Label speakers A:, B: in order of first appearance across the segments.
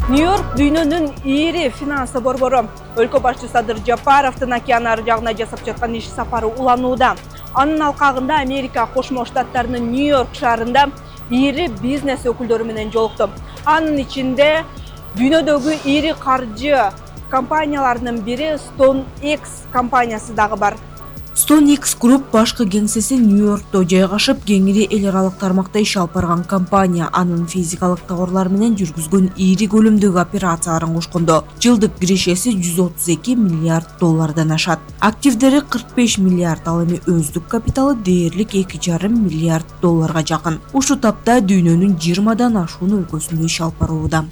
A: Нью-Йорк дүйнөнүн ири финансы борбору. Өлкө башчысы Садыр Жапаровдун океан ары жагына жасап жаткан иш сапары уланууда. Анын алкагында Америка Кошмо Штаттарынын Нью-Йорк шаарында ири бизнес өкүлдөрү менен жолукту. Анын ичинде дүйнөдөгү ири каржы компанияларынын бири StoneX компаниясы дагы бар.
B: StoneX Group башкы кеңсеси Нью-Йоркто жайгашып, кеңири эл аралык тармакта иш алып барган компания анын физикалык товарлар менен жүргүзгөн ири көлөмдөгү операцияларын кошкондо жылдык киришеси $132 миллиард ашат. Активдери $45 миллиард, ал эми өздүк капиталы дээрлик $2,5 миллиард жакын. Ушул тапта дүйнөнүн 20дан ашуун өлкөсүндө иш алып барууда.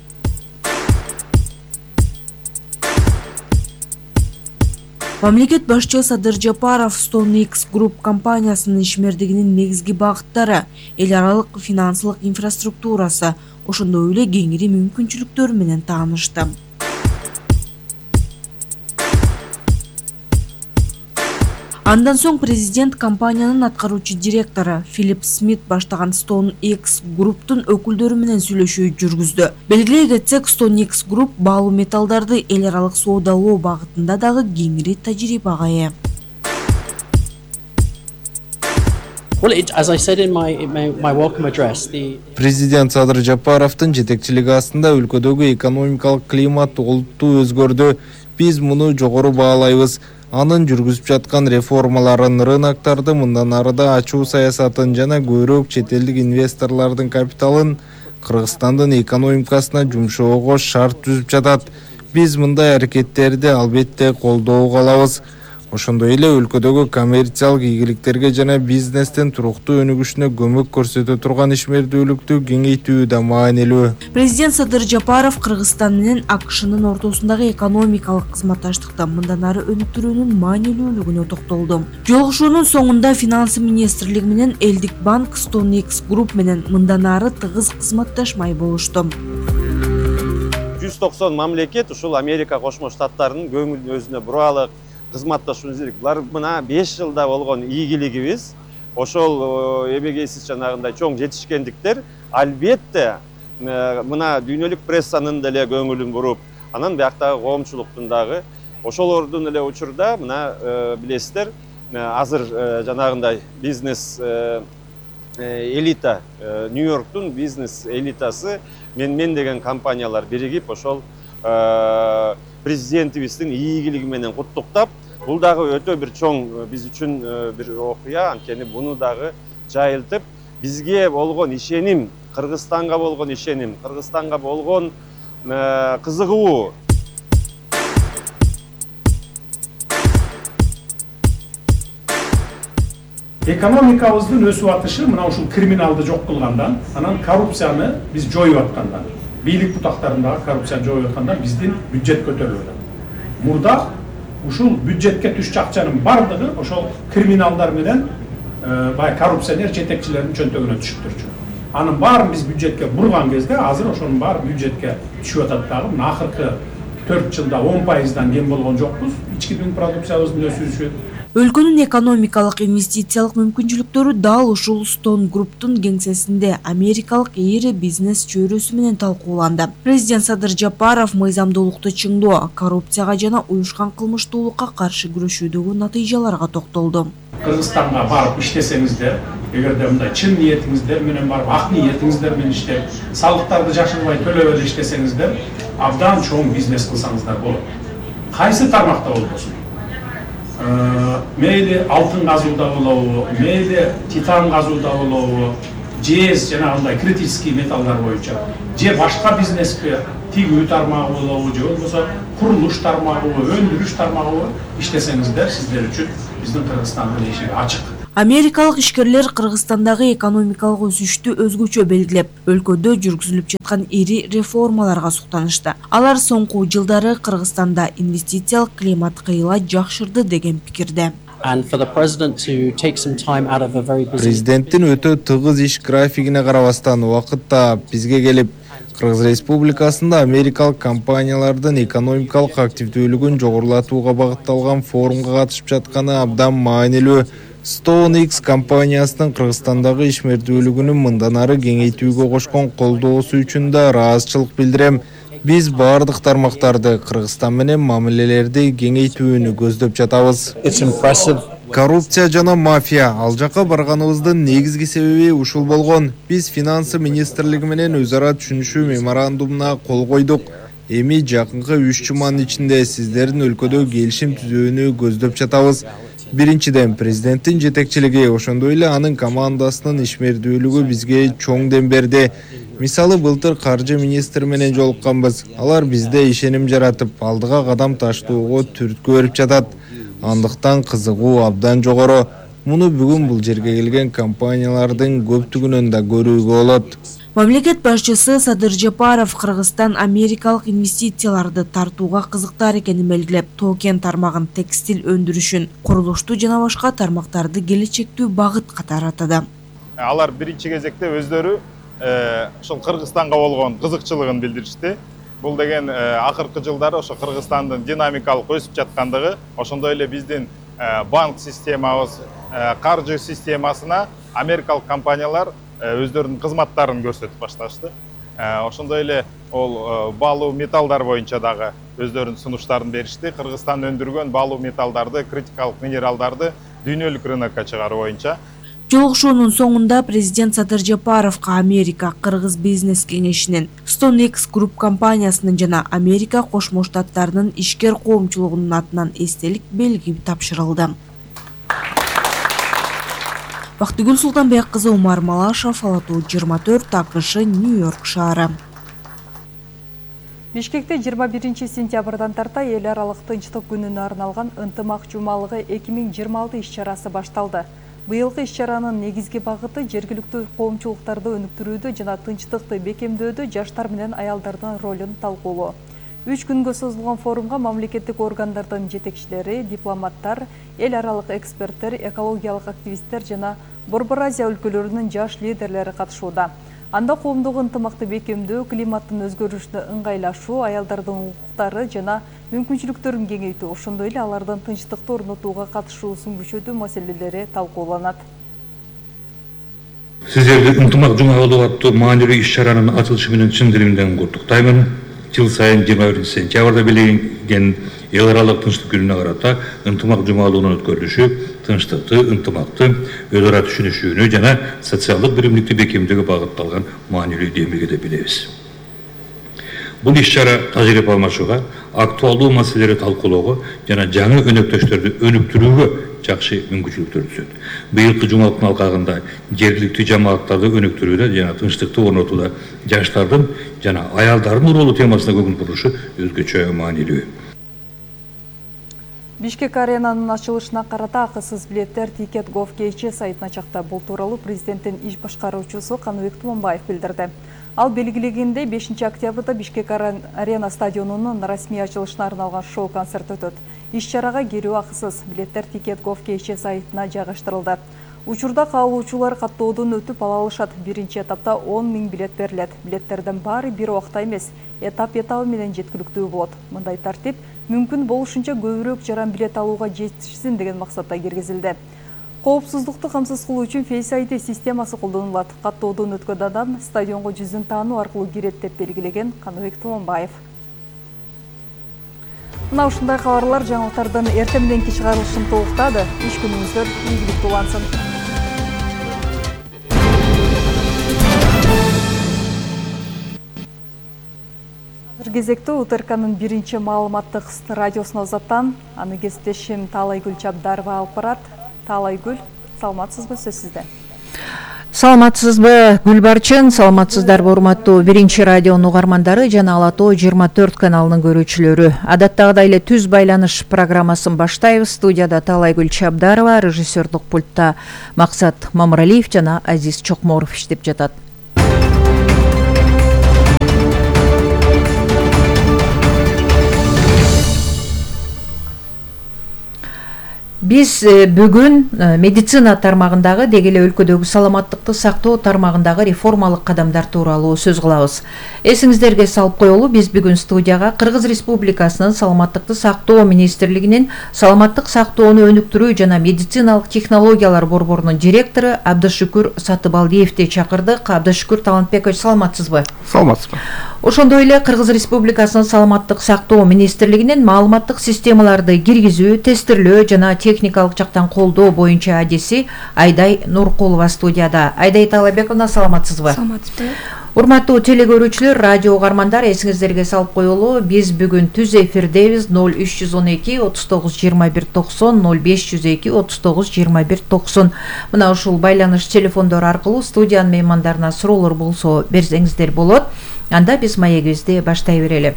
B: Мамлекет башчысы Садыр Жапаров StoneX Group компаниясынын ишмердигинин негизги багыттары, эл аралык финансылык инфраструктурасы, ошондой эле кеңири мүмкүнчүлүктөр менен таанышты. Андан соң президент компаниянын аткаруучу директору Филипп Смит баштаган StoneX Group'тун өкүлдөрү менен сүйлөшүү жүргүздү. Белгилей кетсек, StoneX Group баалуу металлдарды эл аралык соодалоо багытында дагы кеңири тажрыйбага ээ.
C: Президент Садыр Жапаровдун жетекчилиги астында өлкөдөгү экономикалык климат олуттуу өзгөрдү. Биз муну жогору баалайбыз. Анын жүргүзүп жаткан реформаларын, рыноктарды мындан арыда ачуу саясатын жана көбүрөөк чет элдик инвесторлордун капиталын Кыргызстандын экономикасына жумшоого шарт түзүп жатат. Биз мындай аракеттерди албетте колдоого алабыз. Ошондой эле өлкөдөгү коммерциялык ийгиликтерге жана бизнестин туруктуу өнүгүшүнө көмөк көрсөтө турган ишмердүүлүктү кеңейтүү да маанилүү.
B: Президент Садыр Жапаров Кыргызстан менен АКШнын ортосундагы экономикалык кызматташтыкты мындан ары өнүктүрүүнүн маанилүүлүгүнө токтолду. Жолугушуунун соңунда финансы министрлиги менен элдик банк StoneX Group менен мындан ары тыгыз кызматташмай болушту.
D: 190 мамлекет ушул Америка Кошмо Штаттарынын көңүлүн өзүнө буралык кызматташууну изделик. Булар мына 5 жылда болгон ийгилигибиз, ошол эбегейсиз жанагындай чоң жетишкендиктер албетте мына дүйнөлүк прессанын деле көңүлүн буруп, анан бияктагы коомчулуктун дагы ошолордун эле учурда мына билесиздер, азыр жанагындай бизнес элита, Нью-Йорктун бизнес элитасы мен деген компаниялар биригип ошол президентибиздин ийгилиги менен куттуктап, бул дагы өтө бир чоң биз үчүн бир окуя, анткени буну дагы жайылтып, бизге болгон ишеним, Кыргызстанга болгон ишеним, Кыргызстанга болгон кызыгуу.
E: Экономикабыздын өсүп атышы мына ушул криминалды жок кылгандан, анан коррупцияны биз жоюп аткандан, бийлик бутактарындагы коррупцияны жоюп аткандан биздин бюджет көтөрүлүп атат. Мурда ушул бюджетке түшчү акчанын бардыгы ошол криминалдар менен бай коррупционер жетекчилердин чөнтөгүнө түшүп турчу. Анын баарын биз бюджетке бурган кезде азыр ошонун баары бюджетке түшүп атат дагы. Мына акыркы 4 жылда 10%дан кем болгон жокпуз. Ички дүң продукциябыздын өсүшү.
B: Өлкөнүн экономикалык инвестициялык мүмкүнчүлүктөрү дал ушул Stone Group'тун кеңсесинде америкалык ири бизнес чөйрөсү менен талкууланды. Президент Садыр Жапаров мыйзамдуулукту чыңдоо, коррупцияга жана уюшкан кылмыштуулукка каршы күрөшүүдөгү натыйжаларга токтолду.
E: Кыргызстанга барып иштесеңиздер, эгерде мындай чын ниетиңиздер менен барып, ак ниетиңиздер менен иштеп, салыктарды жашырбай төлөп эле иштесеңиздер, абдан чоң бизнес кылсаңыздар болот. Кайсы тармакта болбосун? Мейли алтын казууда болобу, мейли титан казууда болобу, жез жанагындай критический металлдар боюнча, же башка бизнеске тигүү тармагы болобу, же болбосо курулуш тармагы, өндүрүш тармагы иштесеңиздер, сиздер үчүн биздин Кыргызстандын эшиги ачык.
B: Америкалык ишкерлер Кыргызстандагы экономикалык өсүштү өзгөчө белгилеп, өлкөдө жүргүзүлүп жаткан ири реформаларга суктанышты. Алар соңку жылдары Кыргызстанда инвестициялык климат кыйла жакшырды деген пикирде.
C: Президенттин өтө тыгыз иш графигине карабастан убакытта бизге келип, Кыргыз Республикасында америкалык компаниялардын экономикалык активдүүлүгүн жогорулатууга багытталган форумга катышып жатканы абдан маанилүү. StoneX компаниясынын Кыргызстандагы ишмердүүлүгүнүн мындан ары кеңейтүүгө кошкон колдоосу үчүн да ыраазычылык билдирем. Биз баардык тармактарды Кыргызстан менен мамилелерди кеңейтүүнү көздөп жатабыз. Коррупция жана мафия ал жака барганыбыздын негизги себеби ушул болгон. Биз финансы министрлиги менен өз ара түшүнүшүү меморандумуна кол койдук. Эми жакынкы 3 жуманын ичинде сиздердин өлкөдө келишим түзүүнү көздөп жатабыз. Биринчиден, президенттин жетекчилиги, ошондой эле анын командасынын ишмердүүлүгү бизге чоң дем берди. Мисалы, былтыр каржы министри менен жолукканбыз. Алар бизде ишеним жаратып, алдыга кадам таштоого түрткү берип жатат. Андыктан кызыгуу абдан жогору. Муну бүгүн бул жерге келген компаниялардын көптүгүнөн да көрүүгө болот.
B: Мамлекет башчысы Садыр Жапаров Кыргызстан америкалык инвестицияларды тартууга кызыктар экенин белгилеп, тоо-кен тармагын, текстил өндүрүшүн, курулушту жана башка тармактарды келечектүү багыт катары атады.
F: Алар биринчи кезекте өздөрү ошол Кыргызстанга болгон кызыкчылыгын билдиришти. Бул деген акыркы жылдары ошо Кыргызстандын динамикалык өсүп жаткандыгы, ошондой эле биздин банк системабыз, каржы системасына америкалык компаниялар өздөрүнүн кызматтарын көрсөтүп башташты. Ошондой эле ол баалуу металлдар боюнча дагы өздөрүнүн сунуштарын беришти. Кыргызстан өндүргөн баалуу металлдарды, критикалык минералдарды дүйнөлүк рынокко чыгаруу боюнча.
B: Жолугушуунун соңунда президент Садыр Жапаровго Америка Кыргыз бизнес кеңешинин, StoneX Group компаниясынын жана Америка Кошмо Штаттарынын ишкер коомчулугунун атынан эстелик белги тапшырылды. Бактыгүл Султанбек кызы, Умар Малашев, Ала-Тоо 24, АКШ, Нью-Йорк шаары.
A: Бишкекте 21 сентябрдан тарта эл аралык тынчтык күнүнө арналган ынтымак жумалыгы 2026 иш-чарасы башталды. Быйылкы иш-чаранын негизги багыты жергиликтүү коомчулуктарды өнүктүрүүдө жана тынчтыкты бекемдөөдө жаштар менен аялдардын ролун талкуулоо. 3 күнгө созулган форумга мамлекеттик органдардын жетекчилери, дипломаттар, эл аралык эксперттер, экологиялык активисттер жана Борбор Азия өлкөлөрүнүн жаш лидерлери катышууда. Анда коомдук ынтымакты бекемдөө, климаттын өзгөрүшүнө ыңгайлашуу, аялдардын укуктары жана мүмкүнчүлүктөрүн кеңейтүү, ошондой эле алардын тынчтыкты орнотууга катышуусун күчөтүү маселелери талкууланат.
G: Сиздерди ынтымак жумалыгы аттуу маанилүү иш-чаранын ачылышы менен чын диlimden куттуктаймын. Жыл сайын 21 сентябрда белгиленген эл аралык тынчтык күнүнө карата ынтымак жумалыгынын өткөрүлүшү тынчтыкты, ынтымакты, өз ара түшүнүшүүнү жана социалдык биримдикти бекемдөөгө багытталган маанилүү демилге деп билебиз. Бул иш-чара тажрыйба алмашууга, актуалдуу маселелерди талкуулоого жана жаңы өнөктөштөрдү өнүктүрүүгө жакшы мүмкүнчүлүктөр түзөт. Быйылкы жумалыктын алкагында жергиликтүү жамааттарды өнүктүрүүдө жана тынчтыкты орнотууда жаштардын жана аялдардын ролу темасына көңүл бурушу өзгөчө маанилүү.
A: Бишкек аренанын ачылышына карата акысыз билеттер Ticket.gov.kz сайтына чыкты. Бул тууралуу президенттин иш башкаруучусу Каныбек Туманбаев билдирди. Ал белгилегендей 5 октябрда Бишкек арена стадионунун расмий ачылышына арналган шоу-концерт өтөт. Иш-чарага кирүү акысыз. Билеттер Ticket.gov.kz сайтына жайгаштырылды. Учурда каалоочулар каттоодон өтүп ала алышат. Биринчи этапта 10 000 билет берилет. Билеттердин баары бир убакта эмес, этап менен жеткиликтүү болот. Мындай тартип мүмкүн болушунча көбүрөөк жаран билет алууга жетишсин деген максатта киргизилди. Коопсуздукту камсыз кылуу үчүн Face ID системасы колдонулат. Каттоодон өткөн адам стадионго жүзүн таануу аркылуу кирет деп белгилеген Каныбек Туманбаев. Мына ушундай кабарлар жаңылыктардын эртең мененки чыгарылышын толуктады. Иш күнүңүздөр ийгиликтүү улансын. Азыр кезекте УТРКнын биринчи маалыматтык радиосуна узаттан аны кесиптешим Таалайгүл Чабдарова алып барат. Таалайгүл, саламатсызбы, сөз сизде.
H: Саламатсызбы, Гүлбарчын, саламатсыздарбы урматтуу биринчи радионун угармандары жана Ала-Тоо 24 каналынын көрүүчүлөрү. Адаттагыдай эле түз байланыш программасын баштайбыз. Студияда Таалайгүл Чабдарова, режиссерлук пультта Максат Мамыралиев жана Азиз Чокморов иштеп жатат. Биз бүгүн медицина тармагындагы деги эле өлкөдөгү саламаттыкты сактоо тармагындагы реформалык кадамдар тууралуу сөз кылабыз. Эсиңиздерге салып коелу, биз бүгүн студияга Кыргыз Республикасынын саламаттыкты сактоо министрлигинин саламаттык сактоону өнүктүрүү жана медициналык технологиялар борборунун директору Абдышүкүр Сатыбалдиевди чакырдык. Абдышүкүр Талантбекович, саламатсызбы?
I: Саламатсызбы.
H: Ошондой эле Кыргыз Республикасынын саламаттык сактоо министрлигинин маалыматтык системаларды киргизүү, тестирлөө жана техникалык жактан колдоо боюнча адиси Айдай Нуркулова студияда. Айдай Талабековна, саламатсызбы?
I: Саламатсызбы.
H: Урматтуу телегөрүүчүлөр, радио угармандар, эсиңиздерге салып коелу, биз бүгүн түз эфирдебиз. 0312 39 21 90 0502 39 21 90. Мына ушул байланыш телефондору аркылуу студиянын меймандарына суроолор болсо берсеңиздер болот. Анда биз маегибизди баштай берели.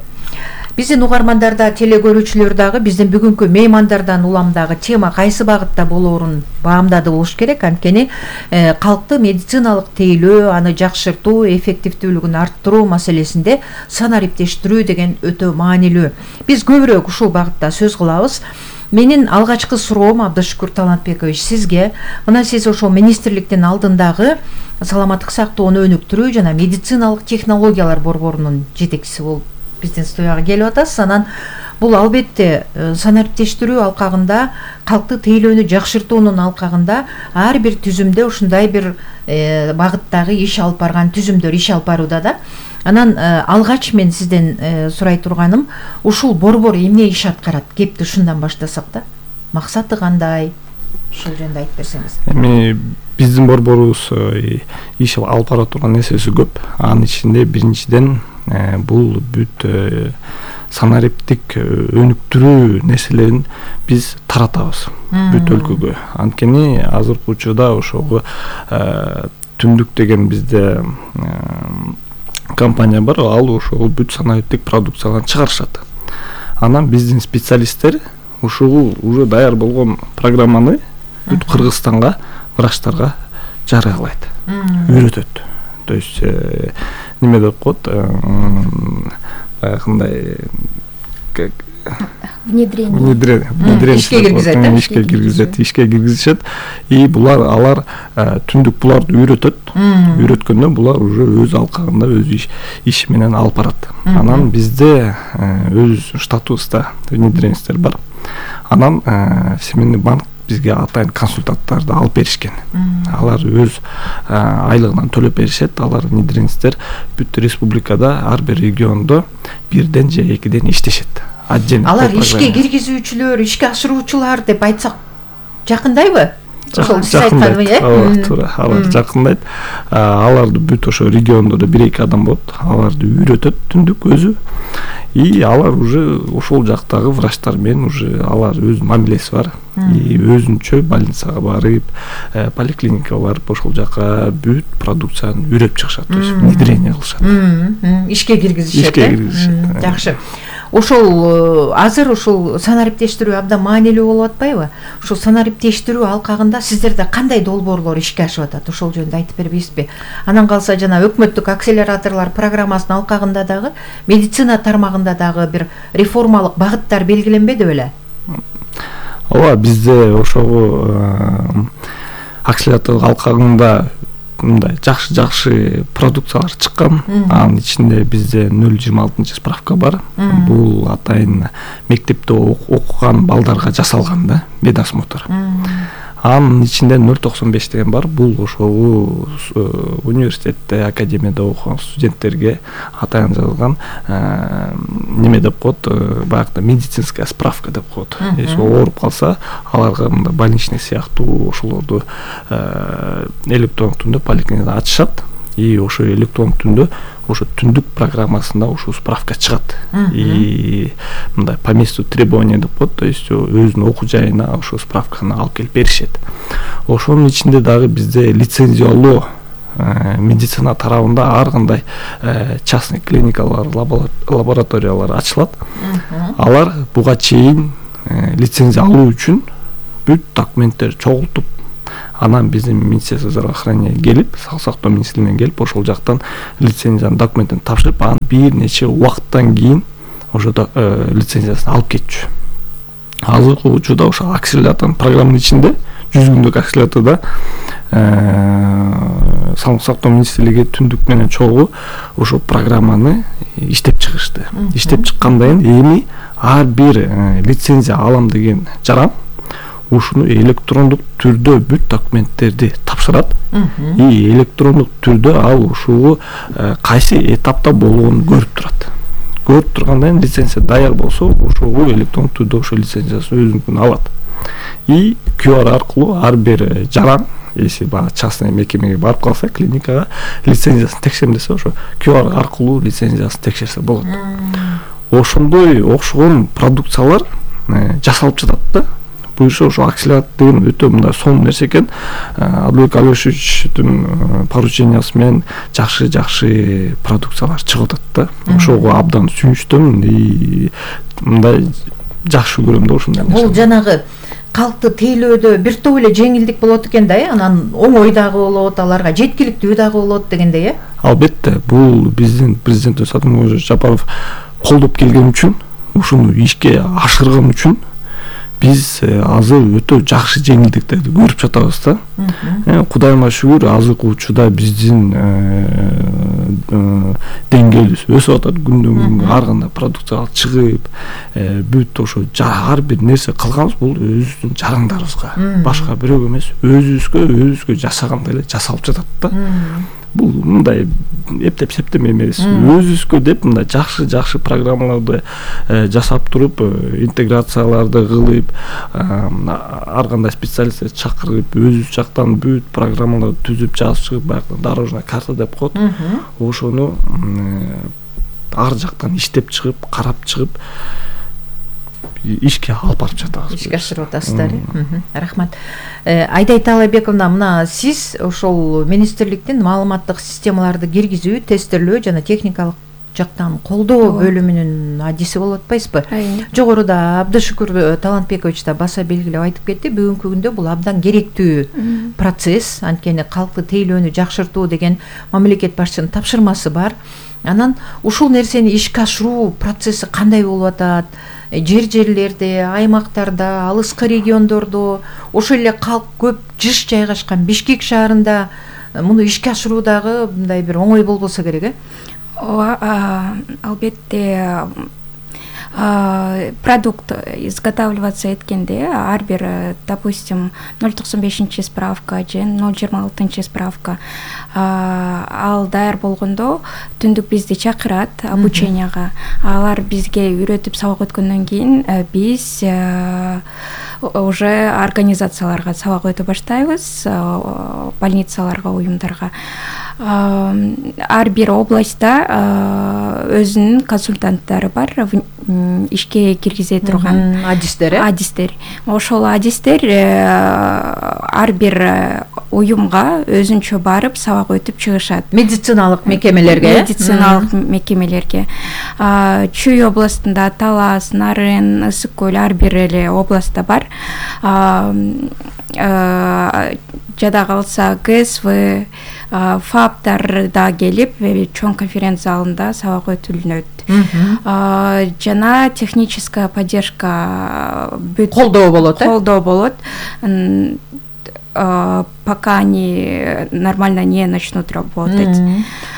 H: Биздин угармандарда, телегөрүүчүлөр дагы биздин бүгүнкү меймандардан улам дагы тема кайсы багытта болоорун баамдады болуш керек. Анткени калкты медициналык тейлөө, аны жакшыртуу, эффективдүүлүгүн арттыруу маселесинде санариптештирүү деген өтө маанилүү. Биз көбүрөөк ушул багытта сөз кылабыз. Менин алгачкы суроом, Абдышкур Талантбекович, сизге. Мына сиз ошол министрликтин алдындагы саламаттык сактоону өнүктүрүү жана медициналык технологиялар борборунун жетекчиси болуп биздин студияга келип атасыз. Анан бул албетте санариптештирүү алкагында, калкты тейлөөнү жакшыртуунун алкагында ар бир түзүмдө ушундай бир багыттагы иш алып барган түзүмдөр иш алып барууда да. Анан алгач мен сизден сурай турганым, ушул борбор эмне иш аткарат? Кепти ушундан баштасак да. Максаты кандай? Ушул жөнүндө айтып берсеңиз.
J: Эми биздин борборубуз иш алып бара турган нерсеси көп. Анын ичинде биринчиден бул бүт санариптик өнүктүрүү нерселерин биз таратабыз бүт өлкөгө. Анткени азыркы учурда ошого Түндүк деген бизде компания бар, ал ошол бүт санариптик продукцияларын чыгарышат. Анан биздин специалисттер ушул уже даяр болгон программаны бүт Кыргызстанга врачтарга жарыялайт, үйрөтөт. То есть неме деп коет, баягындай внедрение ишке киргизет. И алар Түндүк буларды үйрөткөндө булар уже өз алкагында өз иш менен алып барат. Анан бизде өз штатыбызда внедренецтер бар. Анан Всемирный банк бизге атайын консультанттарды алып беришкен. Алар өз айлыгынан төлөп беришет. Алар внедренецтер бүт республикада ар бир региондо бирден же экиден иштешет.
H: Алар ишке киргизүүчүлөр, ишке ашыруучулар деп айтсак жакындайбы?
J: Туура, алар жакындайт. Аларды бүт ошо региондо 1-2 адам болот. Аларды үйрөтөт Түндүк өзү. И алар уже ошол жактагы врачтар менен уже алар өз мамилеси бар. И өзүнчө больницага барып, поликлиникага барып ошол жака бүт продукцияны үйрөтүп чыгышат, то есть внедрение кылышат.
H: Ишке киргизишет. Жакшы. Ошол азыр ушул санариптештирүү абдан маанилүү болуп атпайбы? Ушул санариптештирүү алкагында сиздерде кандай долбоорлор ишке ашып атат? Ошол жөнүндө айтып бербейсизби? Анан калса жана өкмөттүк акселераторлор программасынын алкагында дагы медицина тармагында дагы бир реформалык багыттар белгиленбеди беле?
J: Ооба, бизде ошого акселератор алкагында мындай жакшы продукциялар чыккан. Анын ичинде бизде 026 справка бар. Бул атайын мектепте окуган балдарга жасалган да, медосмотр. Анын ичинде 095 деген бар. Бул ошол университетте, академияда окуган студенттерге атайын жазылган неме деп коет, баягы медицинская справка деп коет. Если ооруп калса, аларга мындай больничный сыяктуу ошолорду электрондук түрдө поликлиникада ачышат. И ошо электрондук түрдө ошо Түндүк программасында ошо справка чыгат. И мындай по месту требования деп коет, то есть өзүнүн окуу жайына ошо справканы алып келип беришет. Ошонун ичинде дагы бизде лицензиялоо медицина тарабында ар кандай частный клиникалар, лабораториялар ачылат. Алар буга чейин лицензия алуу үчүн бүт документтер чогултуп, анан биздин Министерство здравоохранения келип, Сак сактоо министрлигине келип, ошол жактан лицензиянын документин тапшырып, анан бир нече убакыттан кийин ошо лицензиясын алып кетчү. Азыркы учурда ошо акселератор программанын ичинде 100 күндүк акселераторда Сак сактоо министрлиги Түндүк менен чогуу ошо программаны иштеп чыгышты. Иштеп чыккандан кийин эми ар бир лицензия алам деген жаран ушуну электрондук түрдө бүт документтерди тапшырат и электрондук түрдө ал ушул кайсы этапта болгонун көрүп турат. Көрүп тургандан кийин лицензия даяр болсо ошого электрондук түрдө ошол лицензиясын өзүнүкүн алат. И QR аркылуу ар бир жаран, если баягы частный мекемеге барып калса, клиникага лицензиясын текшерем десе, ошо QR аркылуу лицензиясын текшерсе болот. Ошондой окшогон продукциялар жасалып жатат да. Буюрса ошо акселерат деген өтө мындай сонун нерсе экен. Адылбек Алешевичтин поручениясы менен жакшы продукциялар чыгып атат да. Ошого абдан сүйүнүчтүмүн и мындай жакшы көрөм да ушундай нерсе.
H: Бул жанагы калкты тейлөөдө бир топ эле жеңилдик болот экен да, анан оңой дагы болот, аларга жеткиликтүү дагы болот дегендей,
J: Албетте, бул биздин президентибиз Садыр Жапаров колдоп келген үчүн, ушуну ишке ашырган үчүн биз азыр өтө жакшы жеңилдиктерди көрүп жатабыз да. Кудайыма шүгүр, азыркы учурда биздин деңгээлибиз өсүп атат, күндөн күнгө ар кандай продукциялар чыгып, бүт ошо ар бир нерсе кылганыбыз бул өзүбүздүн жарандарыбызга, башка бирөөгө эмес, өзүбүзгө жасагандай эле жасалып жатат да. Бул мындай эптеп септеме эмес, өзүбүзгө деп мындай жакшы программаларды жасап туруп, интеграцияларды кылып, ар кандай специалисттерди чакырып, өзүбүз жактан бүт программаларды түзүп жазып чыгып, баягы дорожная карта деп коет. Ошону ар жактан иштеп чыгып, карап чыгып, ишке алып барып жатабыз.
H: Ишке ашырып атасыздар. Рахмат. Айдай Таалайбековна, мына сиз ошол министрликтин маалыматтык системаларды киргизүү, тестирлөө жана техникалык жактан колдоо бөлүмүнүн адиси болуп атпайсызбы? Жогоруда Абдышүкүр Талантбекович да баса белгилеп айтып кетти. Бүгүнкү күндө бул абдан керектүү процесс, анткени калкты тейлөөнү жакшыртуу деген мамлекет башчынын тапшырмасы бар. Анан ушул нерсени ишке ашыруу процесси кандай болуп атат? Жерлерде, аймактарда, алыскы региондордо, ошол эле калк көп жыш жайгашкан Бишкек шаарында муну ишке ашыруудагы мындай бир оңой болбосо керек,
I: Албетте, продукт изготавливаться эткенде ар бир, допустим, 095 справка же 026 справка ал даяр болгондо түндүк бизди чакырат обученияга. Алар бизге үйрөтүп сабак өткөндөн кийин биз уже организацияларга сабак өтө баштайбыз, больницаларга, уюмдарга. Ар бир областта өзүнүн консультанттары бар, ишке киргизе турган адистер. Ошол адистер ар бир уюмга өзүнчө барып сабак өтүп чыгышат.
H: Медициналык мекемелерге.
I: Чүй областында Талас, Нарын, Ысык көл ар бир эле областта бар. Жада калса ГСВ, ФАПтар да келип, чоң конференция залында сабак өтүлүнөт. Жана техническая поддержка
H: колдоо болот.
I: Пока они нормально не начнут работать.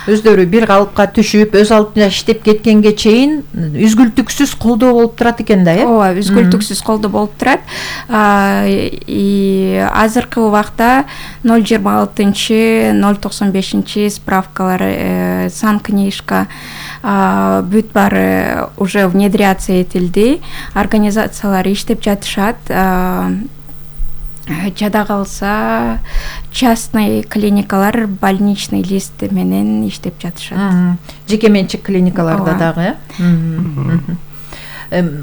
H: Өздөрү бир калыпка түшүп, өз алдына иштеп кеткенге чейин үзгүлтүксүз колдоо болуп турат экен да,
I: Ооба, үзгүлтүксүз колдоо болуп турат. И азыркы убакта 026, 095 справкалар, санкнижка бүт баары уже внедряться этилди. Организациялар иштеп жатышат. Жада калса частный клиникалар больничный лист менен иштеп жатышат.
H: Жеке менчик клиникаларда дагы.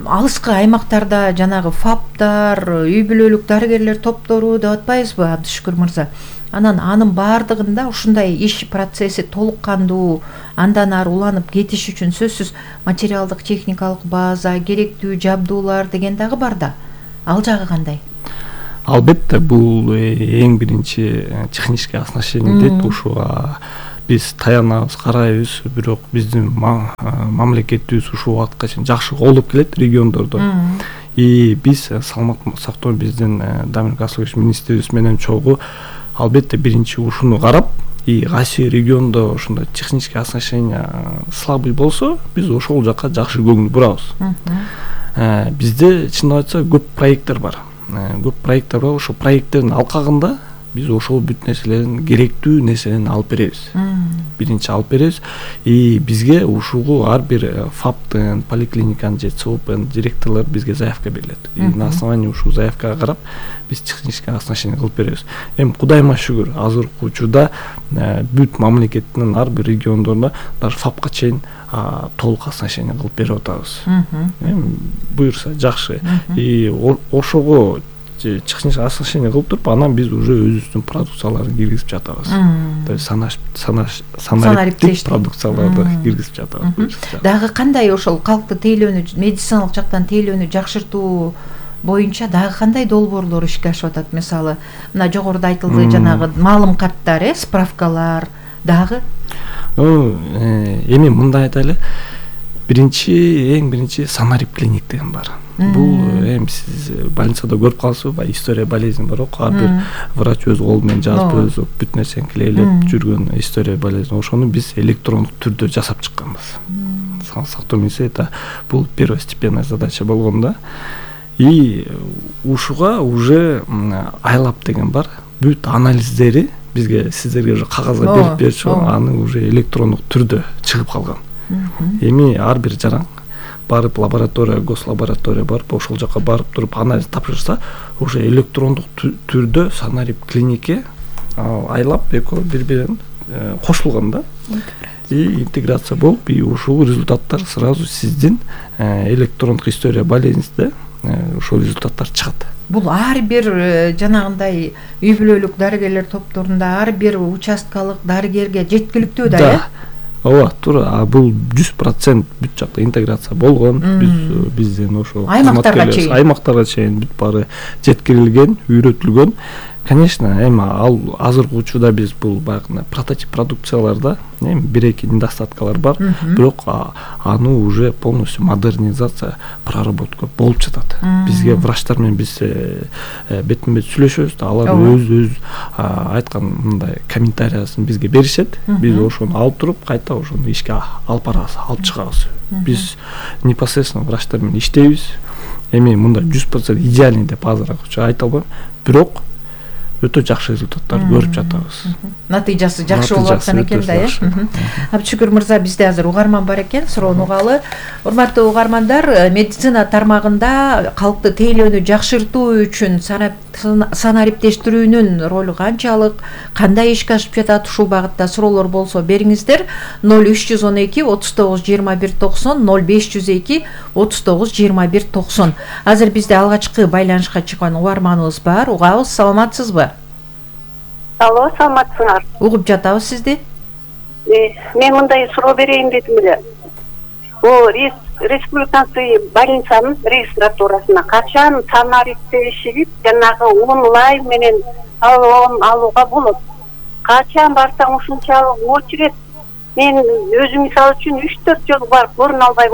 H: Алыскы аймактарда жанагы ФАПтар, үй бүлөлүк дарыгерлер топтору деп атпайбызбы, Абдышүкүр мырза? Анын баардыгында ушундай иш процесси толук кандуу, андан ары уланып кетиш үчүн сөзсүз материалдык техникалык база, керектүү жабдуулар деген дагы бар да. Ал жагы кандай?
J: Албетте, бул эң биринчи техническое оснащение дейт. Ушуга биз таянабыз, карайбыз, бирок биздин мамлекетибиз ушул убакытка чейин жакшы колдоп келет региондордо. И биз саламаттык сактоо биздин Дамир Касылович министрибиз менен чогуу албетте биринчи ушуну карап, и кайсы региондо ошондой техническое оснащение слабый болсо, биз ошол жака жакшы көңүл бурабыз. Бизде чындап айтса көп проекттер бар. көп проекттер бар. Ошо проекттердин алкагында биз ошол бүт нерселердин керектүү нерселерин алып беребиз. Биринчи алып беребиз. И бизге ушугу ар бир ФАПтын, поликлиниканын же ЦОПнын директорлору бизге заявка берилет. И на основании ушул заявкага карап биз технический оснащение кылып беребиз. Эми Кудайыма шүгүр, азыркы учурда бүт мамлекеттин ар бир региондорунда даже ФАПка чейин толук оснащение кылып берип атабыз. Эми буюрса жакшы. И ошого технический оснащение кылып туруп, анан биз уже өзүбүздүн продукцияларды киргизип жатабыз. То есть санариптик продукцияларды киргизип жатабыз.
H: Дагы кандай ошол калкты тейлөөнү, медициналык жактан тейлөөнү жакшыртуу боюнча дагы кандай долбоорлор ишке ашып атат? Мисалы, мына жогоруда айтылды жанагы маалым карттар, справкалар дагы?
J: Эми мындай айтайлы. Эң биринчи санарип клиник деген бар. Бул эми сиз больницада көрүп каласызбы, история болезни бар го, ар бир врач өз колу менен жазып, өзү бүт нерсени клейлеп жүргөн история болезни. Ошону биз электрондук түрдө жасап чыкканбыз. Сактоо министрлиги бул первостепенная задача болгон да. И ушуга уже айлап деген бар. Бүт анализдери бизге сиздерге уже кагазга берип берчү, аны уже электрондук түрдө чыгып калган. Эми ар бир жаран барып лаборатория, гослаборатория барып, ошол жака барып туруп анализ тапшырса, уже электрондук түрдө санарип клинике айлап экөө бири-бирин кошулган да. И интеграция болуп, и ушул результаттар сразу сиздин электрондук история болезнинизде ошол результаттар чыгат.
H: Бул ар бир жанагындай үй бүлөлүк дарыгерлер топторунда ар бир участкалык дарыгерге жеткиликтүү да, э?
J: Ооба, туура. Бул 100% бүт жакта интеграция болгон. Биздин ошо аймактарга чейин бүт баары жеткирилген, үйрөтүлгөн. Конечно, эми ал азыркы учурда биз бул баягы прототип продукцияларда эми бир-эки недостаткалар бар, бирок аны уже полностью модернизация, проработка болуп жатат. Бизге врачтар менен биз бетме-бет сүйлөшөбүз да, алар өз айткан мындай комментариясын бизге беришет. Биз ошону алып туруп, кайта ошону ишке алып барабыз, алып чыгабыз. Биз непосредственно врачтар менен иштейбиз. Эми мындай 100% идеальный деп азыркы айта албайм, бирок өтө жакшы результаттар көрүп жатабыз.
H: Натыйжасы жакшы болуп аткан экен да, э? Абдышүгүр мырза, бизде азыр угарман бар экен, суроону угалы. Урматтуу угармандар, медицина тармагында калкты тейлөөнү жакшыртуу үчүн санариптештирүүнүн ролу канчалык, кандай ишке ашып жатат, ушул багытта суроолор болсо бериңиздер. 0312 39 21 90, 0502 39 21 90. Азыр бизде алгачкы байланышка чыккан угарманыбыз бар. Угабыз, саламатсызбы?
K: Алло, саламатсыңар.
H: Угуп жатабыз сизди.
K: Мен мындай суроо берейин дедим эле. О, республиканский больницанын регистратурасына качан санариптешип, жанагы онлайн менен алууга болот? Качан барсаң ушунчалык очередь. Мен өзүм мисалы үчүн 3-4 жолу барып көрүнө албай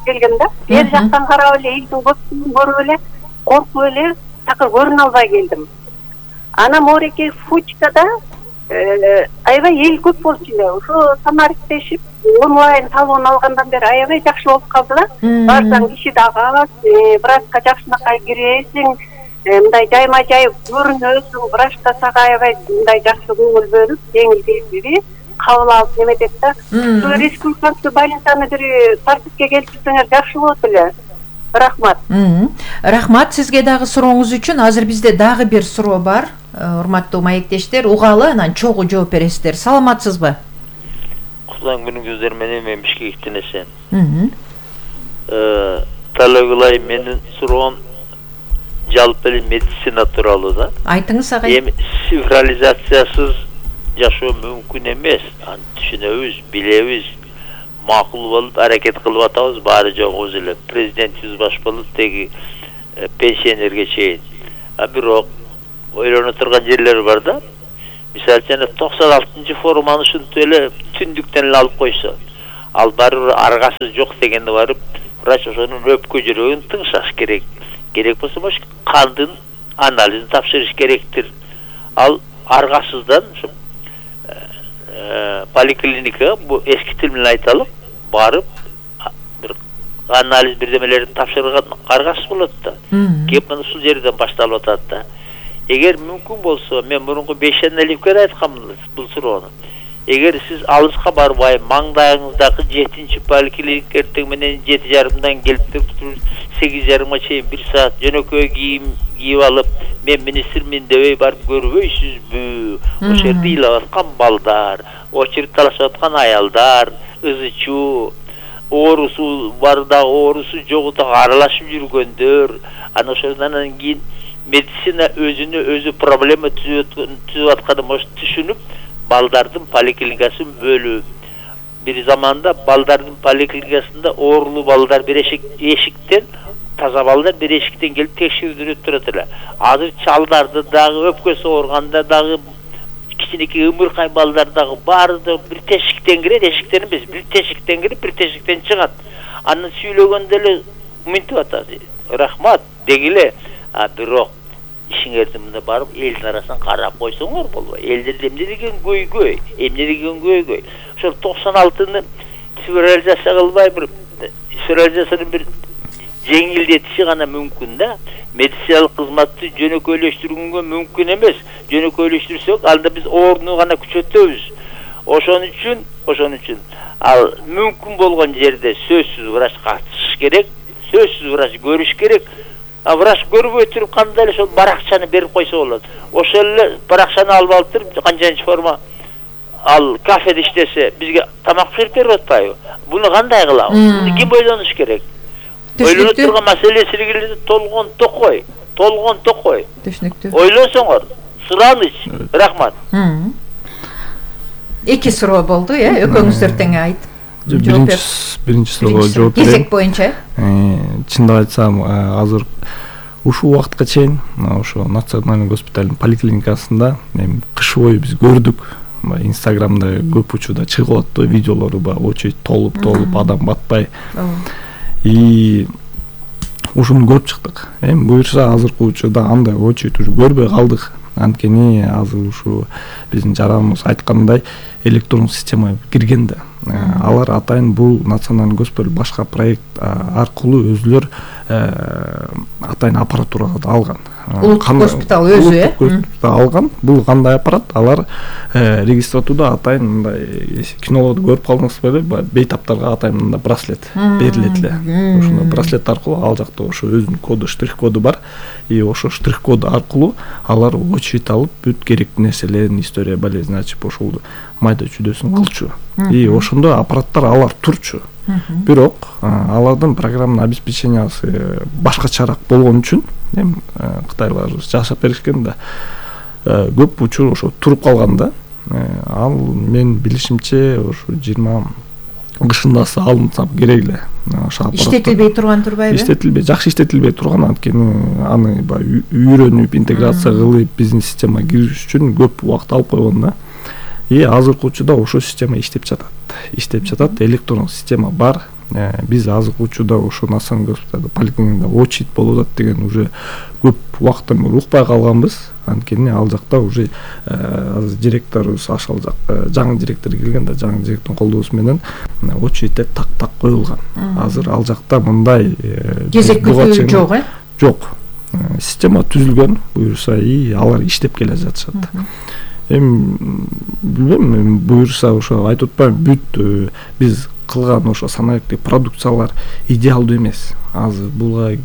K: келгем да. Бер жактан карап эле, элдин көпчүлүгүн көрүп эле, коркуп эле, такыр көрүнө албай келдим. Ана Мореке Фучкада аябай эл көп болчу эле. Ошо санариптешип, онлайн талоон алгандан бери аябай жакшы болуп калды да. Барсаң киши дагы аз, врачка жакшынакай киресиң, мындай жайма-жай көрүнөсүң, врач да сага аябай мындай жакшы көңүл бөлүп, жеңил кабыл алып неметет да. Ошо республиканский больницаны бир тартипке келтирсеңер жакшы болот эле. Рахмат.
H: Рахмат сизге дагы сурооңуз үчүн. Азыр бизде дагы бир суроо бар. Урматтуу маектештер, угалы, анан чогуу жооп бересиздер. Саламатсызбы?
L: Кутулган күнүңүздөр менен мен Бишкектен эсен. Талабылай, менин суроом жалпы эле медицина тууралуу да.
H: Айтыңыз агай.
L: Эми цифрализациясыз жашоо мүмкүн эмес. Аны түшүнөбүз, билебиз. Макул болуп аракет кылып атабыз, баары жогубуз эле. Президентибиз баш болуп теги пенсионерге чейин. Бирок ойлоно турган жерлер бар да. Мисалы үчүн 96-njy форманы ушинтип эле түндүктөн эле алып койсо, ал барыбыр аргасы жок дегенде барып, врач ошонун өпкө жүрөгүн тыңшаш керек. Керек болсо бош кандын анализин тапшырыш керектир. Ал аргасыздан поликлиника, бу эски тил менен айталык, барып бир анализ бирдемелерин тапшырган аргасыз болот да. Кеп мына ушул жерден башталып атат да. Эгер мүмкүн болсо, мен мурунку 5 аналитикке айтканмын бул суроону. Эгер сиз алыска барбай, маңдайыңыздагы 7-чи поликлиникке эртең менен 7:30 келип туруп 8:30 чейин 1 саат жөнөкөй кийим кийип алып, мен министрмин дебей барып көрбөйсүзбү? Ошол жерде ыйлап аткан балдар, очередь талашып аткан аялдар, ызычуу, оорусу бар да, оорусу жогу да аралашып жүргөндөр, анан ошондон кийин медицина өзүнө проблема түзүп атканын түшүнүп, балдардын поликлиникасын бөлүп, бир заманда балдардын поликлиникасында оорулуу балдар бир эшиктен, таза балдар бир эшиктен келип текшерүүлүп турат эле. Азыр чалдарды дагы, өпкөсү ооруганда дагы, кичинекей ымыркай балдар дагы баары бир тешиктен кирет, эшиктен эмес, бир тешиктен кирип, бир тешиктен чыгат. Аны сүйлөгөндө эле мынтип атат. Рахмат дегиле. Бирок ишиңерди мында барып элдин арасынан карап койсоңор болбойт. Элдерде эмне деген көйгөй, Ошол 96-ны федерализация кылбай федерализацияны бир жеңилдетиши гана мүмкүн да. Медициналык кызматты жөнөкөйлөштүргөнгө мүмкүн эмес. Жөнөкөйлөштүрсөк, анда биз орну гана күчөтөбүз. Ошон үчүн ал мүмкүн болгон жерде сөзсүз врач катышыш керек, сөзсүз врач көрүш керек. Врач көрбөй туруп кандай эле ошол баракчаны берип койсо болот. Ошол эле баракчаны алып алып туруп канчанчы форма ал кафеде иштесе, бизге тамак берип атпайбы? Буну кандай кылабыз? Ким ойлонуш керек? Ойлонуп турган маселеси илгери толгон токой. Түшүнүктүү. Ойлосоңор, сураныч. Рахмат.
H: Эки суроо болду, экөөңүздөр тең айт.
J: Биринчи суроого жооп берейин.
H: Кезек боюнча.
J: Чындап айтсам, азыр ушул убакытка чейин ошо национальный госпиталдын поликлиникасында кыш бою биз көрдүк. Инстаграмда көп учурда чыгып атты видеолору бар, очередь толуп адам батпай. И ушуну көрүп чыктык. Буюрса азыркы учурда андай очередь уже көрбөй калдык. Анткени азыр ушу биздин жараныбыз айткандай электрон система кирген да. Алар атайын бул национальный госпиталь башка проект аркылуу өзүлөр атайын аппаратураларды алган.
H: Улуттук госпиталь өзү,
J: алган. Бул кандай аппарат? Алар регистратурада атайын мындай кинолорду көрүп калдыңызбы беле, бейтаптарга атайын мындай браслет берилет эле. Ошондой браслет аркылуу ал жакта ошо өзүнүн коду, штрих коду бар. И ошо штрих коду аркылуу алар очередь алып, бүт керектүү нерселерин, история болезни ачып, ошол майда чүйдөсүн кылчу. И ошондой аппараттар алар турчу. Бирок алардын программный обеспечениясы башкачараак болгон үчүн кытайлар жашап беришкен да. Көп учур ошо туруп калган да. Ал мен билишимче ошо 20 кышындасы алынса керек эле.
H: Иштетилбей турган турбайбы?
J: Иштетилбей, жакшы иштетилбей турган, анткени аны үйрөнүп, интеграция кылып биздин системага кириш үчүн көп убакыт алып койгон да. И азыркы учурда ошол система иштеп жатат, электрондук система бар. Биз азыркы учурда ошо национальный госпиталда поликлиникада очередь болуп атат деген уже көп убакыттан бери укпай калганбыз. Анткени ал жакта уже азыр директорубуз ошол жакта жаңы директор келген да, жаңы директордун колдоосу менен очередьтер так коюлган. Азыр ал жакта мындай
H: кезек күтүү жок,
J: Жок. Система түзүлгөн, буюрса и алар иштеп келе жатышат. Билбейм, буюрса ошо айтып атпайм, бүт биз кылган ошо санариптик продукциялар идеалдуу эмес. Азыр буга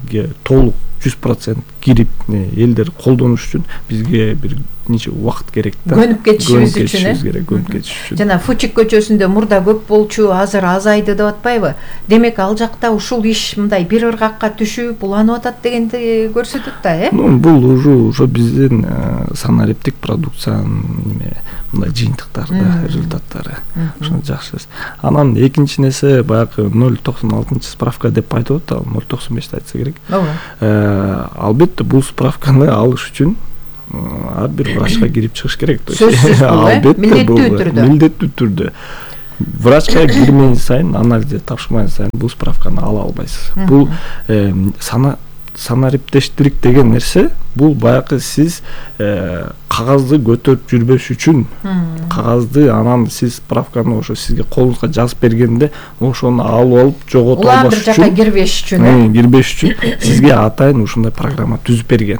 J: толук 100% кирип элдер колдонуш үчүн бизге бир нече убакыт керек да.
H: Көнүп кетишибиз үчүн. Жана Фучик көчөсүндө мурда көп болчу, азыр азайды деп атпайбы? Демек ал жакта ушул иш мындай бир ыргакка түшүп, уланып атат дегенди көрсөтөт да,
J: Бул ошо биздин санариптик продукциянын мындай жыйынтыктары, результаттары. Ошону жакшы. Анан экинчи нерсе баягы 096 справка деп айтып атат, 095 айтса керек. Албетте бул справканы алыш үчүн ар бир врачка кирип чыгыш керек.
H: Албетте бул
J: милдеттүү түрдө. Врачка кирмеген сайын, анализди тапшырмаган сайын бул справканы ала албайсыз. Бул санариптештик деген нерсе бул баягы сиз кагазды көтөрүп жүрбөш үчүн кагазды анан сиз справканы ошо сизге колуңузга жазып бергенде ошону алып алып жогото албаш үчүн,
H: жака кирбеш үчүн
J: кирбеш үчүн сизге атайын ушундай программа түзүп берген.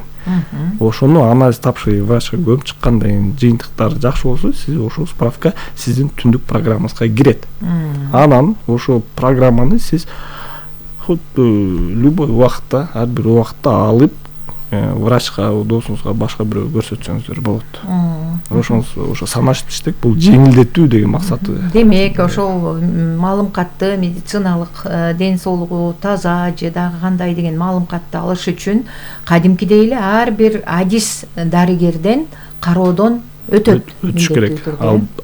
J: Ошону анализ тапшырып врачка көмүп чыккандан кийин жыйынтыктары жакшы болсо сиз ошол справка сиздин түндүк программаңызга кирет. Анан ошол программаны сиз любой убакытта, ар бир убакытта алып врачка, досуңузга, башка бирөөгө көрсөтсөңүздөр болот. Ошо санариптештик бул жеңилдетүү деген максаты.
H: Демек, ошол маалымкатты медициналык ден соолугу таза же дагы кандай деген маалымкатты алыш үчүн кадимкидей эле ар бир адис дарыгерден кароодон
J: өтүш керек.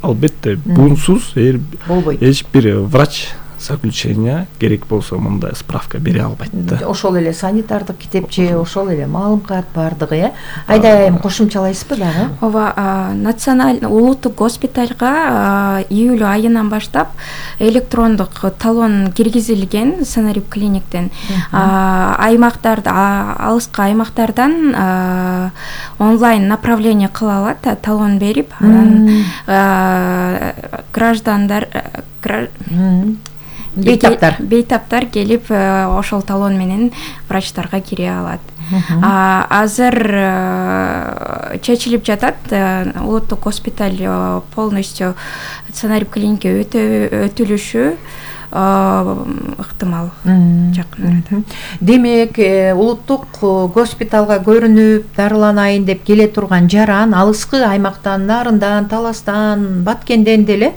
J: Албетте бунсуз эч бир врач заключение керек болсо мындай справка бере албайт да.
H: Ошол эле санитардык китепче, ошол эле маалымкат бардыгы, Айда кошумчалайсызбы дагы?
I: Ооба, националдык улуттук госпитальга июль айынан баштап электрондук талон киргизилген Санарип клиниктен. Аймактарда, алыскы аймактардан онлайн направление кыла алат, талон берип, анан граждандар бейтаптар келип ошол талон менен врачтарга кире алат. Азыр чечилип жатат, улуттук госпиталь полностью Санарип клиникке өтүлүшү ыктымал жакын арада.
H: Демек, улуттук госпиталга көрүнүп, дарыланайын деп келе турган жаран алыскы аймактан, Нарындан, Таластан, Баткенден деле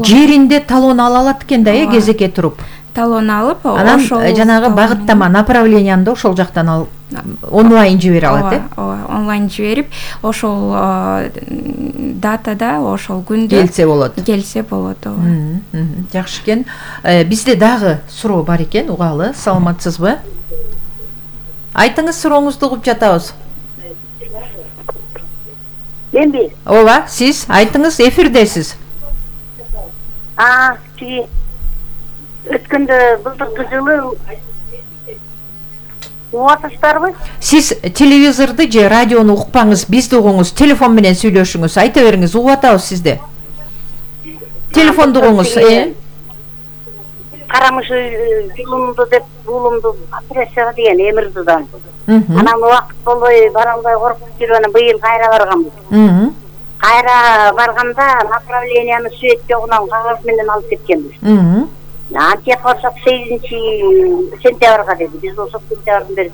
H: жеринде талон ала алат экен да, кезекке туруп.
I: Талон алып,
H: анан жанагы багыттама направленияны да ошол жактан алып онлайн жибере алат,
I: ооба, онлайн жиберип, ошол датада, ошол күндө
H: келсе болот. Жакшы экен. Бизде дагы суроо бар экен, угалы. Саламатсызбы? Айтыңыз, сурооңузду угуп жатабыз.
K: Менби?
H: Ооба, сиз айтыңыз, эфирдесиз.
K: Өткөндө былтыркы жылы угатыштарбы?
H: Сиз телевизорду же радиону укпаңыз, бизди угуңуз, телефон менен сүйлөшүңүз, айта бериңиз, угуп атабыз сизди. Телефонду угуңуз.
K: Карамышы жылымды деп, уулумду операцияга деген Эмирдудан. Анан убакыт болбой, бара албай коркуп жүрүп, анан быйыл кайра барганбыз. Кайра барганда направленияны свет жогунан кагаз менен алып кеткенбиз. Антип барсак 8 сентябрга деди. Биз ошол сентябрдын бери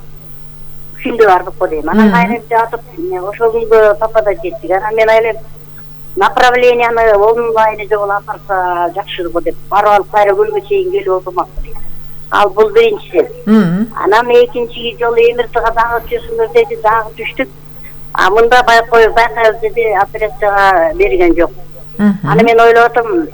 K: күндө бардык го дейм. Анан кайра жатып, ошол күндө папада жеттик. Анан мен ойлойм, направленияны онлайн жолу апарса жакшы го деп, барып алып кайра көлгө чейин келип отурмак. Ал бул биринчиси. Анан экинчи жолу Эмирдага дагы түшүңөр деди, дагы түштүк. Мында байкайбыз деди, операцияга берген жок. Аны мен ойлоп атам,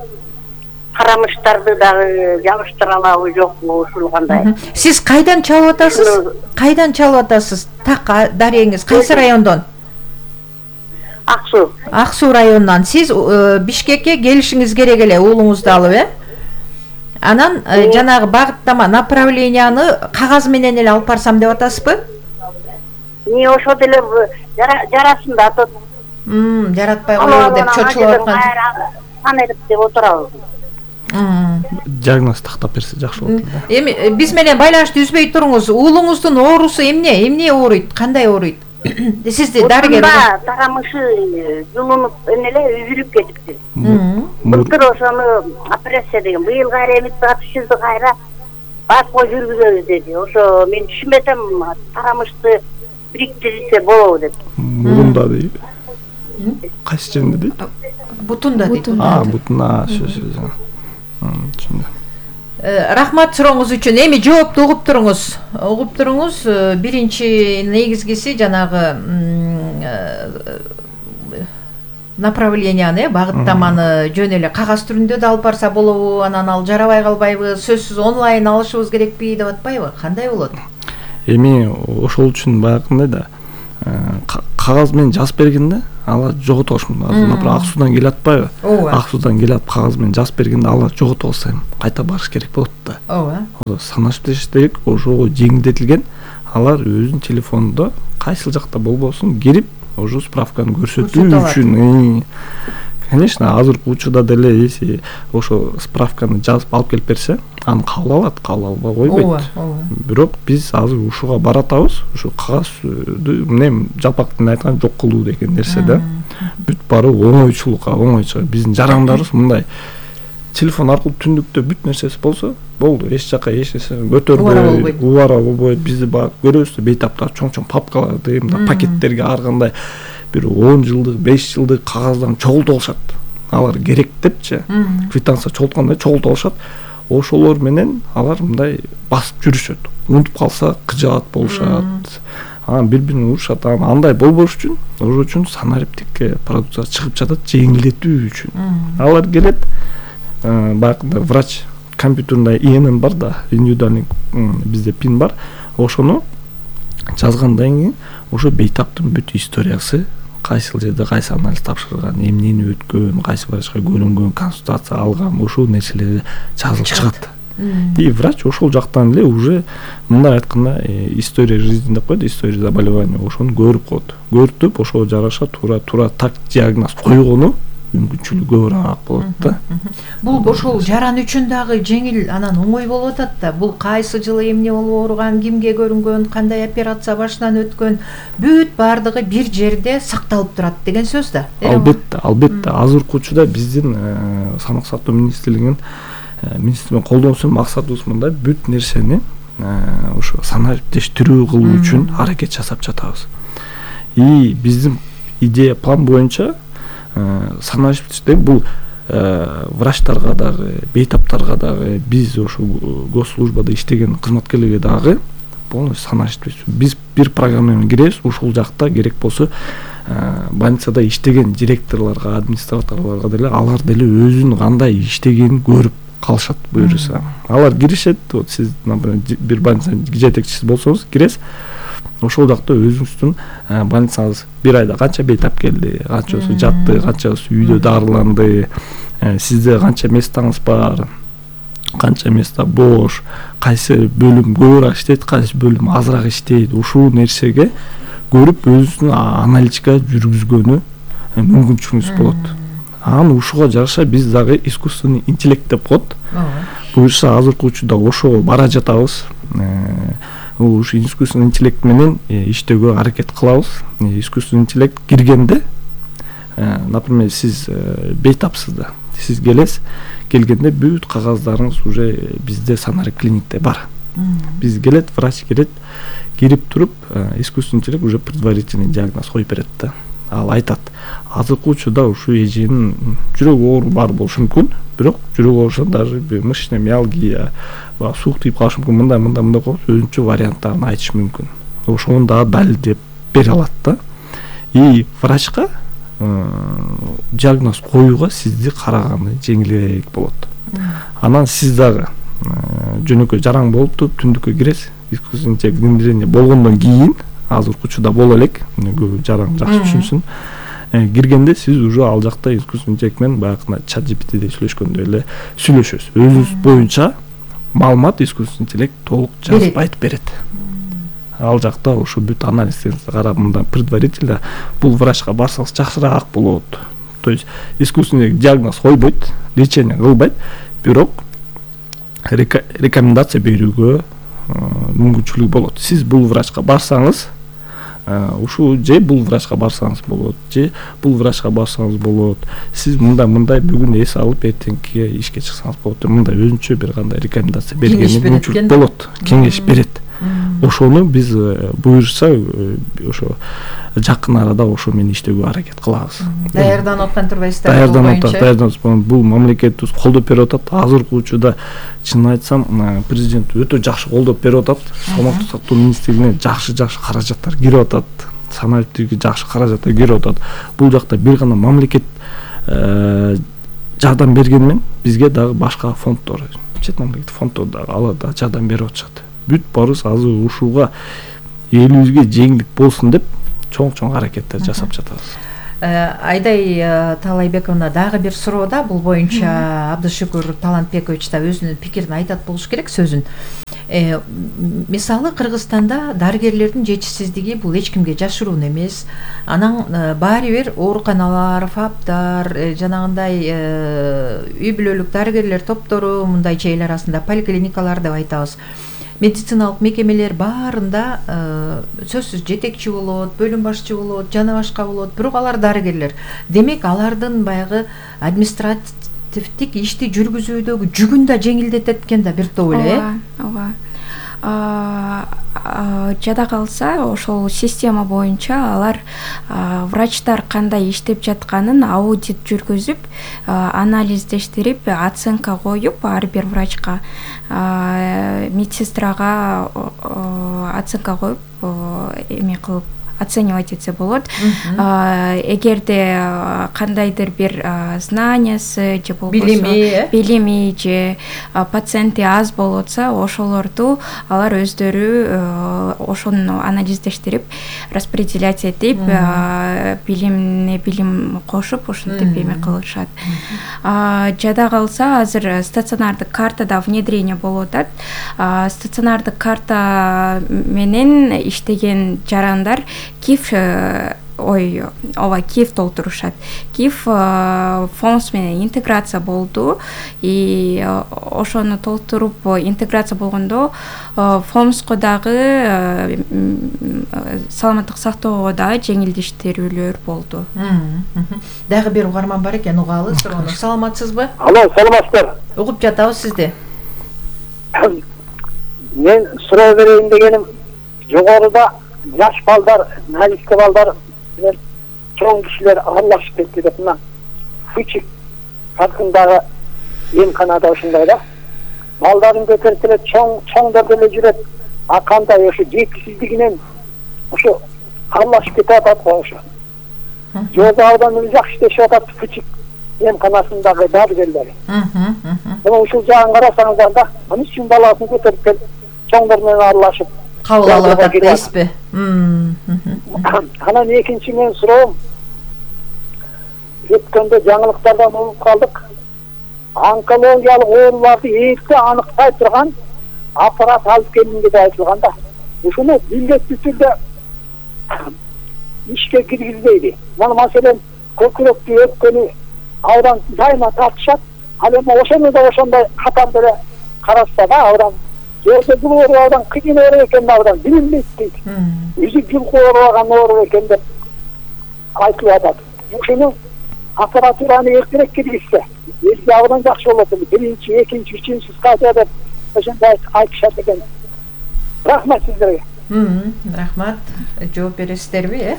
K: карамыштарды дагы жабыштыра алабы жокпу, ушул кандай.
H: Сиз кайдан чалып атасыз? Кайдан чалып атасыз? Так дарегиңиз кайсы райондон?
K: Аксуу.
H: Аксуу районунан. Сиз Бишкекке келишиңиз керек эле, уулуңузду алып, Анан жанагы багыттама направленияны кагаз менен эле алып барсам деп атасызбы?
K: Ошо деле жарасында атат.
H: Жаратпай коелу деп чочулуп аткан.
K: Санарип деп отурабыз.
J: Диагноз тактап берсе жакшы болот да.
H: Эми биз менен байланышты үзбөй туруңуз. Уулуңуздун оорусу эмне ооруйт? Кандай ооруйт? Сизди дарыгер.
K: Тарамышы жылынып эле үзүлүп кетипти. Былтыр ошону операция деген, быйыл кайра Эмирдага түшүздү, кайра баско жүргүзөбүз деди. Ошо мен түшүнбөй атам, тарамышты бириктирсе болобу деп.
J: Мурунда дейт. Кайсы жеринде дейт?
H: Бутунда дейт.
J: Бутунда, сөз.
H: Рахмат сурооңуз үчүн. Эми жоопту угуп туруңуз. Биринчи негизгиси жанагы направленияны, багыттаманы жөн эле кагаз түрүндө да алып барса болобу, анан ал жарабай калбайбы, сөзсүз онлайн алышыбыз керекпи деп атпайбы? Кандай болот?
J: Эми ошол үчүн баягындай да кагаз менен жазып бергенде алар жоготошмун. Например, Аксуудан келип атпайбы? Аксуудан келип кагаз менен жазып бергенде алар жогото алса кайта барыш керек болот да.
H: Ооба.
J: Санариптештик ошого жеңилдетилген. алар өзүнүн телефонунда кайсыл жакта болбосун кирип ошо справканы көрсөтүү үчүн. Конечно, азыркы учурда деле если ошо справканы жазып алып келип берсе, аны кабыл алат, кабыл албай койбойт. Бирок биз азыр ушуга баратабыз, ушу кагазды эмне жалпак тилде айтканда жок кылуу деген нерсе да. Бүт баары оңойчулукка, оңойчу. Биздин жарандарыбыз мындай телефон аркылуу түндүктө бүт нерсеси болсо, болду. Эч жака эч нерсе көтөрбөй, убара болбойт. Бизди бак көрөбүз, бейтаптар чоң-чоң папкаларды, мындай пакеттерге ар кандай бир 10 жылдык, 5 жылдык кагаздарын чогултуп алышат. Алар керек депчи, квитанция чогулткандай чогултуп алышат. Ошолор менен алар мындай басып жүрүшөт. Унутуп калса кыжаат болушат. Бири-бирин урушат. Андай болбош үчүн, ошол үчүн санариптик продукция чыгып жатат жеңилдетүү үчүн. Алар келет, баягы врач компьютеринде ИНН бар да, индивидуальный бизде пин бар. Ошону жазгандан кийин ошо бейтаптын бүт историясы, кайсыл жерде кайсы анализ тапшырган, эмнени өткөн, кайсы врачка көрүнгөн, консультация алган, ошол нерселер жазылып чыгат. И врач ошол жактан эле уже мындай айтканда история жизни деп коет, история заболевания, ошону көрүп коет. Көрүп, ошого жараша туура так диагноз койгону мүмкүнчүлүгү көбүрөөк болот да.
H: Бул ошол жаран үчүн дагы жеңил, анан оңой болуп атат да. Бул кайсы жылы эмне болуп ооруган, кимге көрүнгөн, кандай операция башынан өткөн, бүт баардыгы бир жерде сакталып турат деген сөз да.
J: Албетте. Азыркы учурда биздин саламаттык сактоо министрлигинин колдонуусунун максатыбыз мындай, бүт нерсени ошо санариптештирүү кылуу үчүн аракет жасап жатабыз. И биздин идея план боюнча санариптештирүү бул врачтарга дагы, бейтаптарга дагы, биз ошо госслужбада иштеген кызматкерлерге дагы полностью санариптештирүү. Биз бир программа менен киребиз, ушул жакта керек болсо больницада иштеген директорлорго, администраторлорго деле алар деле өзүнүн кандай иштегенин көрүп калышат буюрса. Алар киришет, вот сиз, например, бир больница жетекчиси болсоңуз, киресиз. Ошол жакта өзүңүздүн больницаңыз бир айда канча бейтап келди, канчасы жатты, канчасы үйдө дарыланды, сизде канча местаңыз бар, канча места бош, кайсы бөлүм көбүрөөк иштейт, кайсы бөлүм азыраак иштейт. Ушул нерсеге көрүп өзүнүн аналитика жүргүзгөнү мүмкүнчүлүгүңүз болот. Анан ушуга жараша биз дагы искусственный интеллект деп коет. Буюрса азыркы учурда ошого бара жатабыз. Ушу искусственный интеллект менен иштөөгө аракет кылабыз. Искусственный интеллект киргенде, например, сиз бейтапсыз да, сиз келгенде бүт кагаздарыңыз уже бизде санарип клиникте бар. Биз келет, врач келет, кирип туруп, искусственный интеллект уже предварительный диагноз коюп берет да. Ал айтат, азыркы учурда ушу эженин жүрөк оору бар болушу мүмкүн, бирок жүрөк оорусунан даже мышечная миалгия, суук тийип калышы мүмкүн, мындай коюп өзүнчө варианттарын айтышы мүмкүн. Ошону дагы далилдеп бере алат да. И врачка диагноз коюуга сизди караганы жеңилирээк болот. Анан сиз дагы жөнөкөй жараң болуп туруп түндүккө киресиз, искусственный интеллект внедрение болгондон кийин, азыркы учурда боло элек, көп жараң жакшы түшүнсүн. Киргенде сиз уже ал жакта искусственный интеллект менен баягы чат GPT-де сүйлөшкөндөй эле сүйлөшөсүз. Өзүңүз боюнча маалымат искусственный интеллект толук жазып айтып берет. Ал жакта ушу бүт анализдерди карап, мындан предварительно бул врачка барсаңыз жакшыраак болот. То есть искусственный диагноз койбойт, лечение кылбайт, бирок рекомендация берүүгө мүмкүнчүлүгү болот. Сиз бул врачка барсаңыз, ушу же бул врачка барсаңыз болот, же бул врачка барсаңыз болот. Сиз мындай бүгүн эс алып эртеңки ишке чыксаңыз болот. Мындай өзүнчө бир кандай рекомендация бергени мүмкүнчүлүк болот, кеңеш берет. Ошону биз буюрса ошо жакын арада ошо менен иштөөгө аракет кылабыз.
H: Даярданып аткан турбайсыздар?
J: Даярданып. Бул мамлекетибиз колдоп берип атат. Азыркы учурда чынын айтсам, президент өтө жакшы колдоп берип атат. Саламаттык сактоо министрлигине жакшы каражаттар кирип атат. Санариптикке жакшы каражаттар кирип атат. Бул жакта бир гана мамлекет жардам бергенмен бизге дагы башка фонддор, чет мамлекеттик фонддор дагы алар да жардам берип атышат. Бүт барыбыз азыр ушуга элибизге жеңилдик болсун деп чоң аракеттер жасап жатабыз.
H: Айдай Талайбековна, дагы бир суроо да, бул боюнча Абдышүкүр Талантбекович да өзүнүн пикирин айтат болуш керек, сөзүн. Мисалы Кыргызстанда дарыгерлердин жетишсиздиги бул эч кимге жашыруун эмес. Анан баары бир ооруканалар, ФАПдар, жанагындай үй бүлөлүк дарыгерлер топтору, мындай чейил арасында поликлиникалар деп айтабыз. Медициналык мекемелер баарында сөзсүз жетекчи болот, бөлүм башчы болот, жана башка болот. Бирок алар дарыгерлер. Демек алардын баягы административдик ишти жүргүзүүдөгү жүгүн да жеңилдетет экен да бир топ эле.
I: Ооба. Жада калса ошол система боюнча алар врачтар кандай иштеп жатканын аудит жүргүзүп, анализдештирип, оценка коюп, ар бир врачка, медсестрага оценка коюп, эме кылып оценивать этсе болот. Эгерде кандайдыр бир знаниясы же болбосо билими же пациенти аз болотса, ошолорду алар өздөрү ошону анализдештирип, распределять этип, билим кошуп, ошентип эме кылышат. Жада калса азыр стационардык картада внедрение болуп атат. Стационардык карта менен иштеген жарандар КИФ КИФ толтурушат. КИФ ФОМС менен интеграция болду. И ошону толтуруп интеграция болгондо ФОМСко дагы саламаттык сактоого дагы жеңилдештирүүлөр болду.
H: Дагы бир угарман бар экен, угалы. Саламатсызбы?
M: Алло, саламатсыздар.
H: Угуп жатабыз сизди.
M: Мен суроо берейин дегеним, жогоруда жаш балдар, налиске балдар менен чоң кишилер аралашып кетти деп мына Фучик паркындагы эмканада ушундай да. Балдарын көтөрүп эле чоңдор деле жүрөт. А кандай ошо жетишсиздигинен ошо аралашып кетип атат го ошо. Жогору ауданында жакшы иштешип атат Фучик эмканасындагы дарыгерлер. Мына ушул жагын карасаңыздар да, эмне үчүн баласын көтөрүп келип чоңдор менен аралашып
H: кабыл алып атат дейсизби?
M: Анан экинчи мен суроом, өткөндө жаңылыктардан угуп калдык. Онкологиялык ооруларды эрте аныктай турган аппарат алып келинди деп айтылган да. Ушуну милдеттүү түрдө ишке киргизбейди. Мына маселен көкүрөктү өткөнү аудан дайыма тартышат. Ал эми ошону да ошондой катар деле карашса да аудан Жолда бул оорубадан кыйын оору экен аудан билинбейт дейт. Үзүп жылкы оорубаган оору экен деп айтылып атат. Ушуну аппаратураны эртерээк киргизсе, элге абдан жакшы болот. Биринчи, экинчи, үчүнчү стадия деп ошондой айтышат экен. Рахмат сиздерге.
H: Рахмат. Жооп бересиздерби,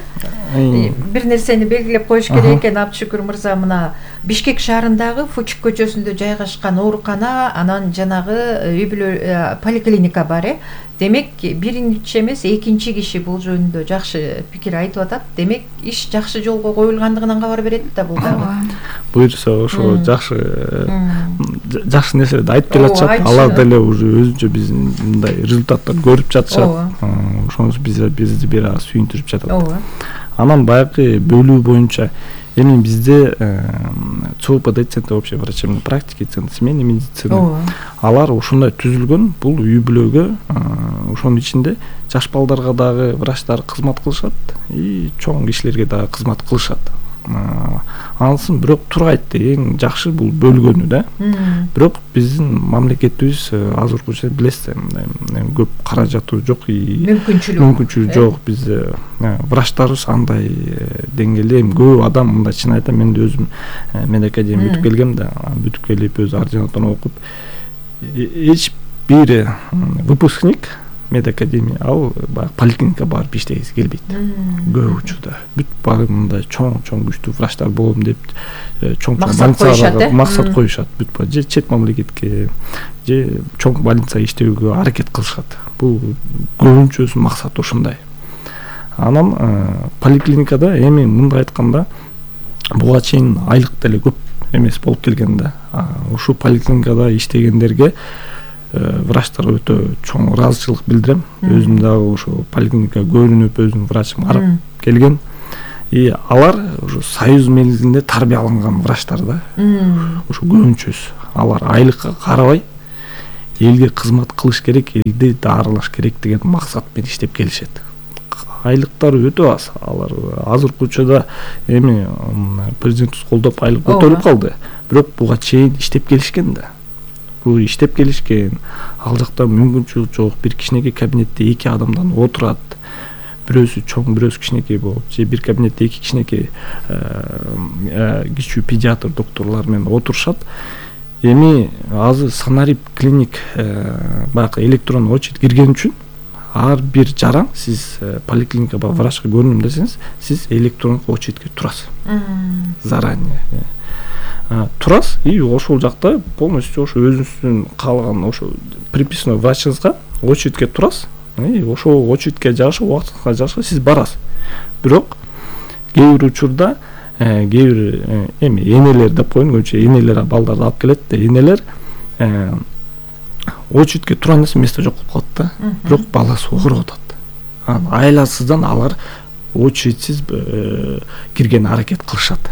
H: Бир нерсени белгилеп коюш керек экен, Абдышүкүр мырза, мына Бишкек шаарындагы Фучик көчөсүндө жайгашкан оорукана, анан жанагы үй бүлө поликлиника бар, Демек, биринчи эмес, экинчи киши бул жөнүндө жакшы пикир айтып атат. Демек, иш жакшы жолго коюлгандыгынан кабар берет да бул дагы.
J: Буюрса ошо жакшы нерселерди айтып келе атышат. Алар деле уже өзүнчө биздин мындай результаттар көрүп жатышат. Ошону бизди бир аз сүйүндүрүп жатат. Анан баягы бөлүү боюнча эми бизде ЦОПД, общей врачебной практики, центр семейной медицины, алар ушундай түзүлгөн. Бул үй бүлөгө, ошонун ичинде жаш балдарга дагы врачтар кызмат кылышат и чоң кишилерге дагы кызмат кылышат. Ансын бирок тургайт эң жакшы бул бөлгөнү да. Бирок биздин мамлекетибиз азыркыча билесиз, көп каражаты жок и мүмкүнчүлүгү жок. Бизде врачтарыбыз андай деңгээлде көп адам, мындай чын айтам, мен өзүм медакадемия бүтүп келгем да, бүтүп келип өз ординатураны окуп, эч бир выпускник медакадемия ал поликлиника барып иштегиси келбейт. Көп учурда бүт баары мындай чоң күчтүү врачтар болом деп чоң больницаларга максат коюшат. Бүт же чет мамлекетке же чоң больницага иштөөгө аракет кылышат. Бул көбүнчөсүнүн максаты ушундай. Анан поликлиникада эми мындай айтканда буга чейин айлык деле көп эмес болуп келген да. Ушул поликлиникада иштегендерге врачтар өтө чоң ыраазычылык билдирем. Өзүм дагы ошо поликлиника көрүнүп, өзүм врачым карап келген. И алар ошо союз мелгилинде тарбияланган врачтар да. Ошо көбүнчөсү алар айлыкка карабай, элге кызмат кылыш керек, элди даарылаш керек деген максат менен иштеп келишет. Айлыктары өтө аз. Алар азыркы учурда эми президентибиз колдоп айлык көтөрүлүп калды. Бирок буга чейин иштеп келишкен да. Бул иштеп келишкен. Ал жакта мүмкүнчүлүк жок. Бир кичинекей кабинетте 2 адамдан отурат. Бирөөсү чоң, бирөөсү кичинекей болуп, же бир кабинетте 2 кичинекей кичүү педиатр докторлор менен отурушат. Эми азыр Санарип клиник баягы электрон очередь кирген үчүн ар бир жаран сиз поликлиникага врачка көрүнөм десеңиз, сиз электрондук очередке турасыз. Заранее турасыз и ошол жакта полностью ошо өзүңүздүн каалаган ошо приписной врачыңызга очередке турасыз. И ошол очередке жагыша, убактыңызга жагыша сиз барасыз. Бирок кээ бир учурда кээ бир эми энелер деп коеюн, көбүнчө энелер балдарды алып келет да, энелер очередке турган место жок болуп калат да. Бирок баласы огуруп атат. Айласыздан алар очередсиз кирген аракет кылышат.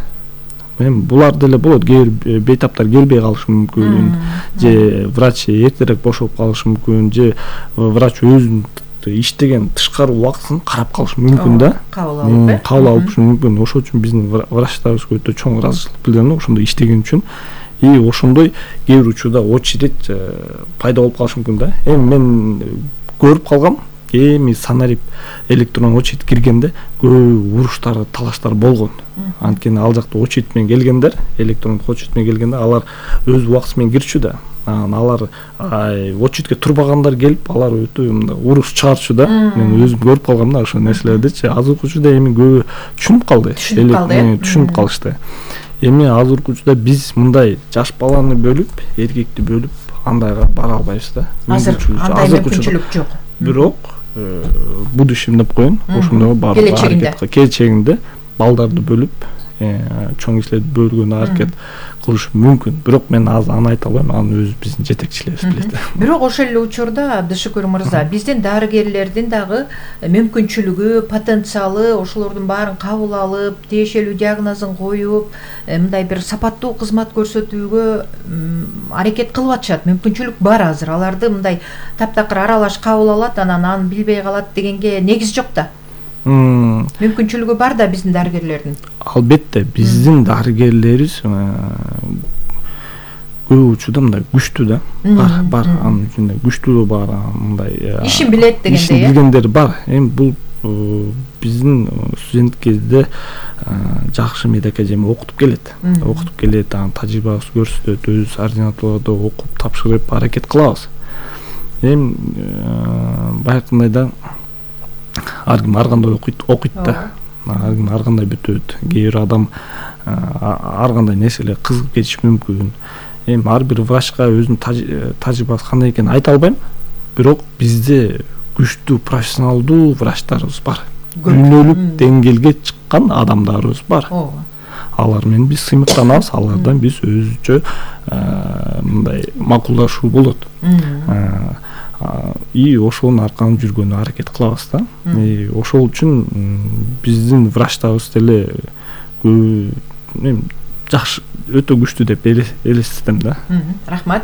J: Эми булар деле болот. Кээ бир бейтаптар келбей калышы мүмкүн, же врач эртерээк бошоп калышы мүмкүн, же врач өзүнүн иштеген тышкары убактысын карап калышы мүмкүн да. Кабыл алышы мүмкүн. Ошол үчүн биздин врачтарыбызга өтө чоң ыраазычылык билдирем, ошондой иштеген үчүн. И ошондой кээ бир учурда очередь пайда болуп калышы мүмкүн да. Эми мен көрүп калгам, эми Санарип электрон очередь киргенде көп уруштар, талаштар болгон. Анткени ал жакта очередь менен келгендер, электрондук очередь менен келгенде алар өз убактысы менен кирчү да. Алар очередке турбагандар келип, алар өтө уруш чыгарчу да. Мен өзүм көрүп калгам да ошол нерселердичи. Азыркы учурда эми көбү түшүнүп калды. Түшүнүп калышты. Эми азыркы учурда биз мындай жаш баланы бөлүп, эркекти бөлүп андайга бара албайбыз да.
H: Андай мүмкүнчүлүк жок.
J: Бирок будущем деп коеюн, ошондой баары аракет келечегинде балдарды бөлүп, чоң кишилерди бөлгөнү аракет кылыш мүмкүн. Бирок мен азыр аны айта албайм, аны өзү биздин жетекчилерибиз билет.
H: Бирок ошол эле учурда Абдышүкүр мырза, биздин дарыгерлердин дагы мүмкүнчүлүгү, потенциалы ошолордун баарын кабыл алып, тиешелүү диагнозун коюп, мындай бир сапаттуу кызмат көрсөтүүгө аракет кылып атышат. Мүмкүнчүлүк бар азыр. Аларды мындай таптакыр аралаш кабыл алат, анан аны билбей калат дегенге негиз жок да. Мүмкүнчүлүгү бар да биздин дарыгерлердин.
J: Албетте, биздин дарыгерлерибиз көп учурда мындай күчтүү да. Бар, анын үчүндө күчтүү бар, мындай
H: ишин билет дегендей.
J: Ишин билгендер бар. Эми бул биздин студент кезде жакшы медакадемия окутуп келет. Окутуп келет, анын тажрыйбасы көрсөтөт, өз ординатурада окуп тапшырып аракет кылабыз. Эми баягындай да ар ким ар кандай окуйт да. Ар ким ар кандай бүтөт. Кээ бир адам ар кандай нерселер кызыгып кетиши мүмкүн. Эми ар бир врачка өзүнүн тажрыйбасы кандай экенин айта албайм. Бирок бизде күчтүү профессионалдуу врачтарыбыз бар. Күнөөлүк деңгээлге чыккан адамдарыбыз бар. Алар менен биз сыймыктанабыз, алардан биз өзүнчө мындай макулдашуу болот. И ошонун арканын жүргөнүнө аракет кылабыз да. Ошол үчүн биздин врачтарыбыз деле жакшы, өтө күчтүү деп элестетем да.
H: Рахмат.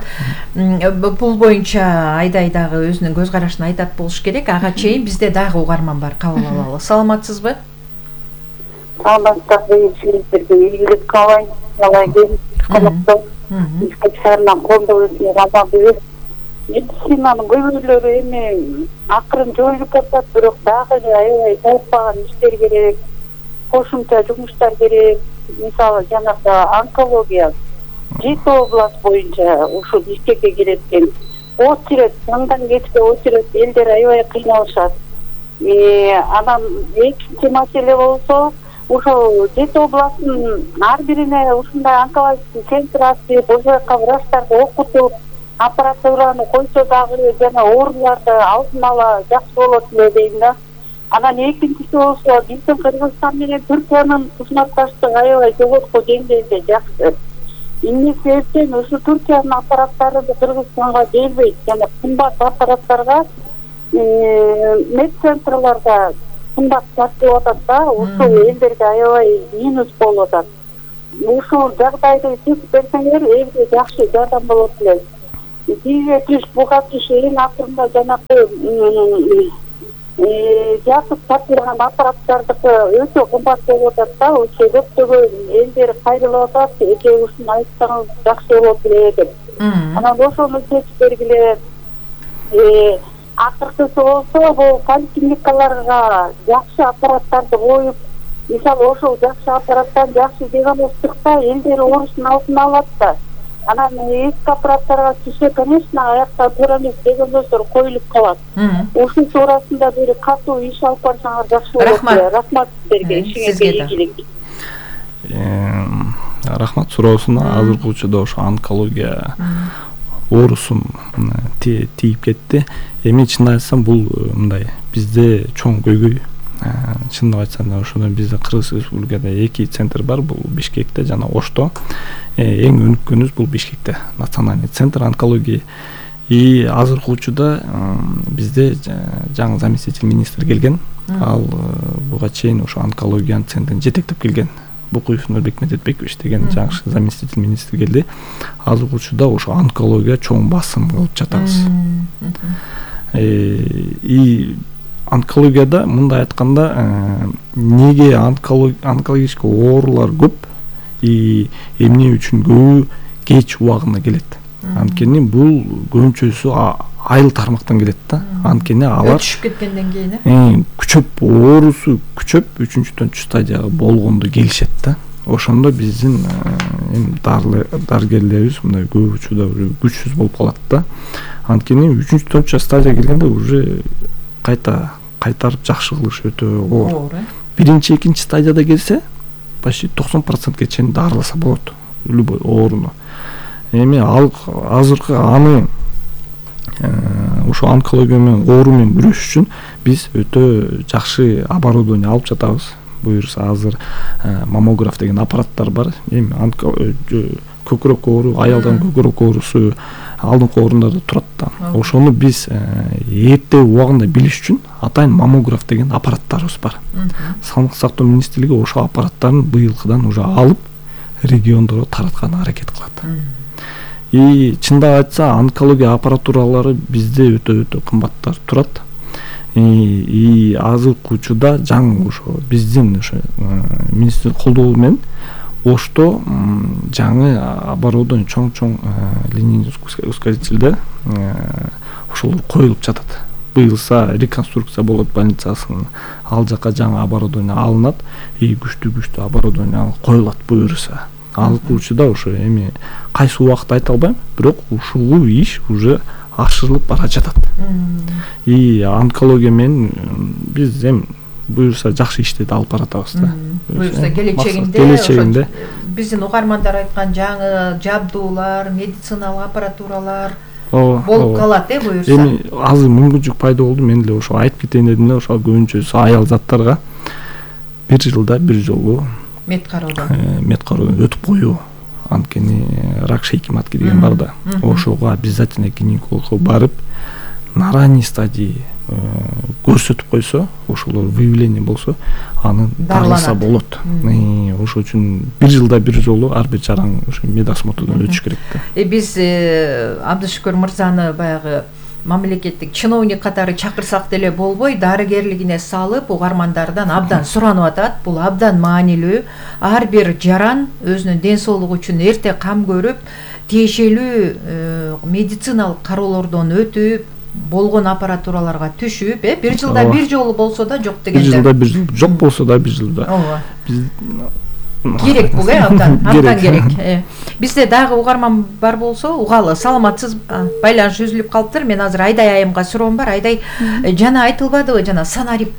H: Бул боюнча Айдай дагы өзүнүн көз карашын айтат болуш керек. Ага чейин бизде дагы угарман бар, кабыл алалы. Саламатсызбы?
K: Саламатсызбы, сиздерге ийгилик каалайм. Колдоо. Шаарынан колдоо өтүп алабыз. Медицинанын көйгөйлөрү эми акырын жоюлуп атат, бирок дагы аябай таппаган иштер керек, кошумча жумуштар керек. Мисалы жанагы онкология 7 область боюнча ушул ишкекке кирет экен. Очередь, андан кечке очередь, элдер аябай кыйналышат. Анан экинчи маселе болсо, ошол 7 областтын ар бирине ушундай онкологический центр ачып, ошол жака врачтарды окутуп, аппаратураны койсо дагы жана ооруларды алдын ала жакшы болот эле дейм да. Анан экинчиси болсо, биздин Кыргызстан менен Түркиянын кызматташтыгы аябай жогорку деңгээлде жакшы. Эмне себептен ушу Түркиянын аппараттары Кыргызстанга келбейт, жана кымбат аппараттарга медцентрларда кымбат сатылып атат да, ушул элдерге аябай минус болуп атат. Ушул жагдайды чечип берсеңер, элге жакшы жардам болот эле. бизге түш буга түш эң акырында жанагы жакып тапшырган аппараттардыкы өтө кымбат болуп атат да, ошо көптөгөн элдер кайрылып атат, эки ушуну айтсаңыз жакшы болот эле деп. Анан ошону чечип бергиле. Акыркысы болсо бул поликлиникаларга жакшы аппараттарды коюп, мисалы ошол жакшы аппараттан жакшы диагностикта элдер оорусун алдын алат да. Анан эски аппараттарга түшө, конечно, аякта туура эмес диагноздор коюлуп калат. Ушул туурасында бир катуу иш алып барсаңар жакшы болот. Рахмат силерге, ишиңизге ийгилик.
J: Рахмат суроосуна. Азыркы учурда ошо онкология оорусун тийип кетти. Эми чынын айтсам бул мындай бизде чоң көйгөй. Чындап айтсам ошондо бизде Кыргыз Республикада 2 центр бар, бул Бишкекте жана Ошто. Эң өнүккөнүбүз бул Бишкекте, национальный центр онкологии. И азыркы учурда бизде жаңы заместитель министр келген. Ал буга чейин ошо онкологиянын центрин жетектеп келген. Букуев Нурбек Медетбекович деген жаңы заместитель министр келди. Азыркы учурда ошо онкология чоң басым кылып жатабыз. И онкологияда мындай айтканда неге онкологический оорулар көп и эмне үчүн көбү кеч убагында келет. Анткени бул көбүнчөсү айыл тармактан келет да. Анткени алар
H: өтүшүп кеткенден кийин
J: күчөп оорусу күчөп 3-4 стадияга болгондо келишет да. Ошондо биздин дарыгерлерибиз мындай көп учурда күчсүз болуп калат да. Анткени 3-4 стадияга келгенде уже кайтарып жакшы кылыш өтө оор. Биринчи, экинчи стадияда келсе, почти 90%ге чейин дарыласа болот любой ооруну. Эми азыркы аны ошо онкология менен оору менен күрөшүш үчүн биз өтө жакшы оборудование алып жатабыз. Буюрса азыр маммограф деген аппараттар бар. Эми көкүрөк оору, аялдын көкүрөк оорусу алдыңкы орундарда турат да. Ошону биз эрте убагында билиш үчүн атайын маммограф деген аппараттарыбыз бар. Саламаттык сактоо министрлиги ошо аппараттарын быйылкыдан уже алып региондорго таратканга аракет кылат. И чындап айтса онкология аппаратуралары бизде өтө кымбаттар турат. И азыркы учурда жаңы ошо биздин ошо министрлик колдоо менен Ошто жаңы оборудование чоң линейный ускорителдер ошолор коюлуп жатат. Быйылса реконструкция болот больницасынын, ал жака жаңы оборудование алынат и күчтүү оборудование коюлат буюрса. Азыркы учурда ошо эми кайсы убакытта айта албайм, бирок ушул иш уже ашырылып бара жатат. И онкология менен биз эми буюрса жакшы иштерди алып баратабыз да.
H: Буюрса келечегинде биздин угармандар айткан жаңы жабдуулар, медициналык аппаратуралар болуп калат, буюрса.
J: Эми азыр мүмкүнчүлүк пайда болду, мен деле ошо айтып кетейин дедим да, ошо көбүнчөсү аял заттарга 1 жылда 1 жолу мед кароодон өтүп коюу. Анткени рак шейки матки деген бар да. Ошого обязательно гинекологко барып на ранней стадии көрсөтүп койсо, ошолор выявление болсо, аны дарыласа болот. Ошол үчүн 1 жылда 1 жолу ар бир жаран ошо медосмотрдон өтүш керек да.
H: Биз Абдышүкүр мырзаны баягы мамлекеттик чиновник катары чакырсак деле болбой, дарыгерлигине салып, угармандардан абдан суранып атат. Бул абдан маанилүү. Ар бир жаран өзүнүн ден соолугу үчүн эрте кам көрүп, тиешелүү медициналык кароолордон өтүп, болгон аппаратураларга түшүп, 1 жылда 1 жолу болсо да жок дегенде.
J: 1 жылда 1 жол, жок болсо да 1 жылда.
H: Керек бул, абдан керек. Бизде дагы угарман бар болсо, угалы. Саламатсыз, байланыш үзүлүп калыптыр. Мен азыр Айдай айымга суроом бар. Айдай, жана айтылбадыбы, жана санарип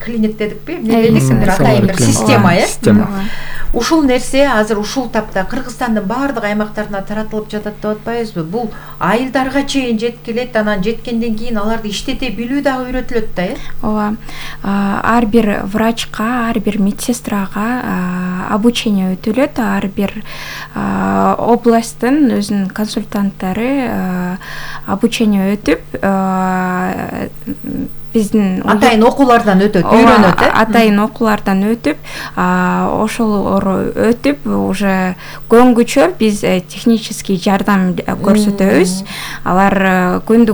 H: клиник дедикпи? Эмне дедик? Атайын бир система, Ушул нерсе азыр ушул тапта Кыргызстандын баардык аймактарына таратылып жатат деп атпайбызбы? Бул айылдарга чейин жеткилет, анан жеткенден кийин аларды иштете билүү дагы үйрөтүлөт да,
I: Ооба. Ар бир врачка, ар бир медсестрага обучение өтүлөт, ар бир областтын өзүнүн консультанттары обучение өтүп, биздин
H: атайын окуулардан өтөт, үйрөнөт,
I: атайын окуулардан өтүп, ошолор өтүп уже көнгүчө биз технический жардам көрсөтөбүз. Алар күндүк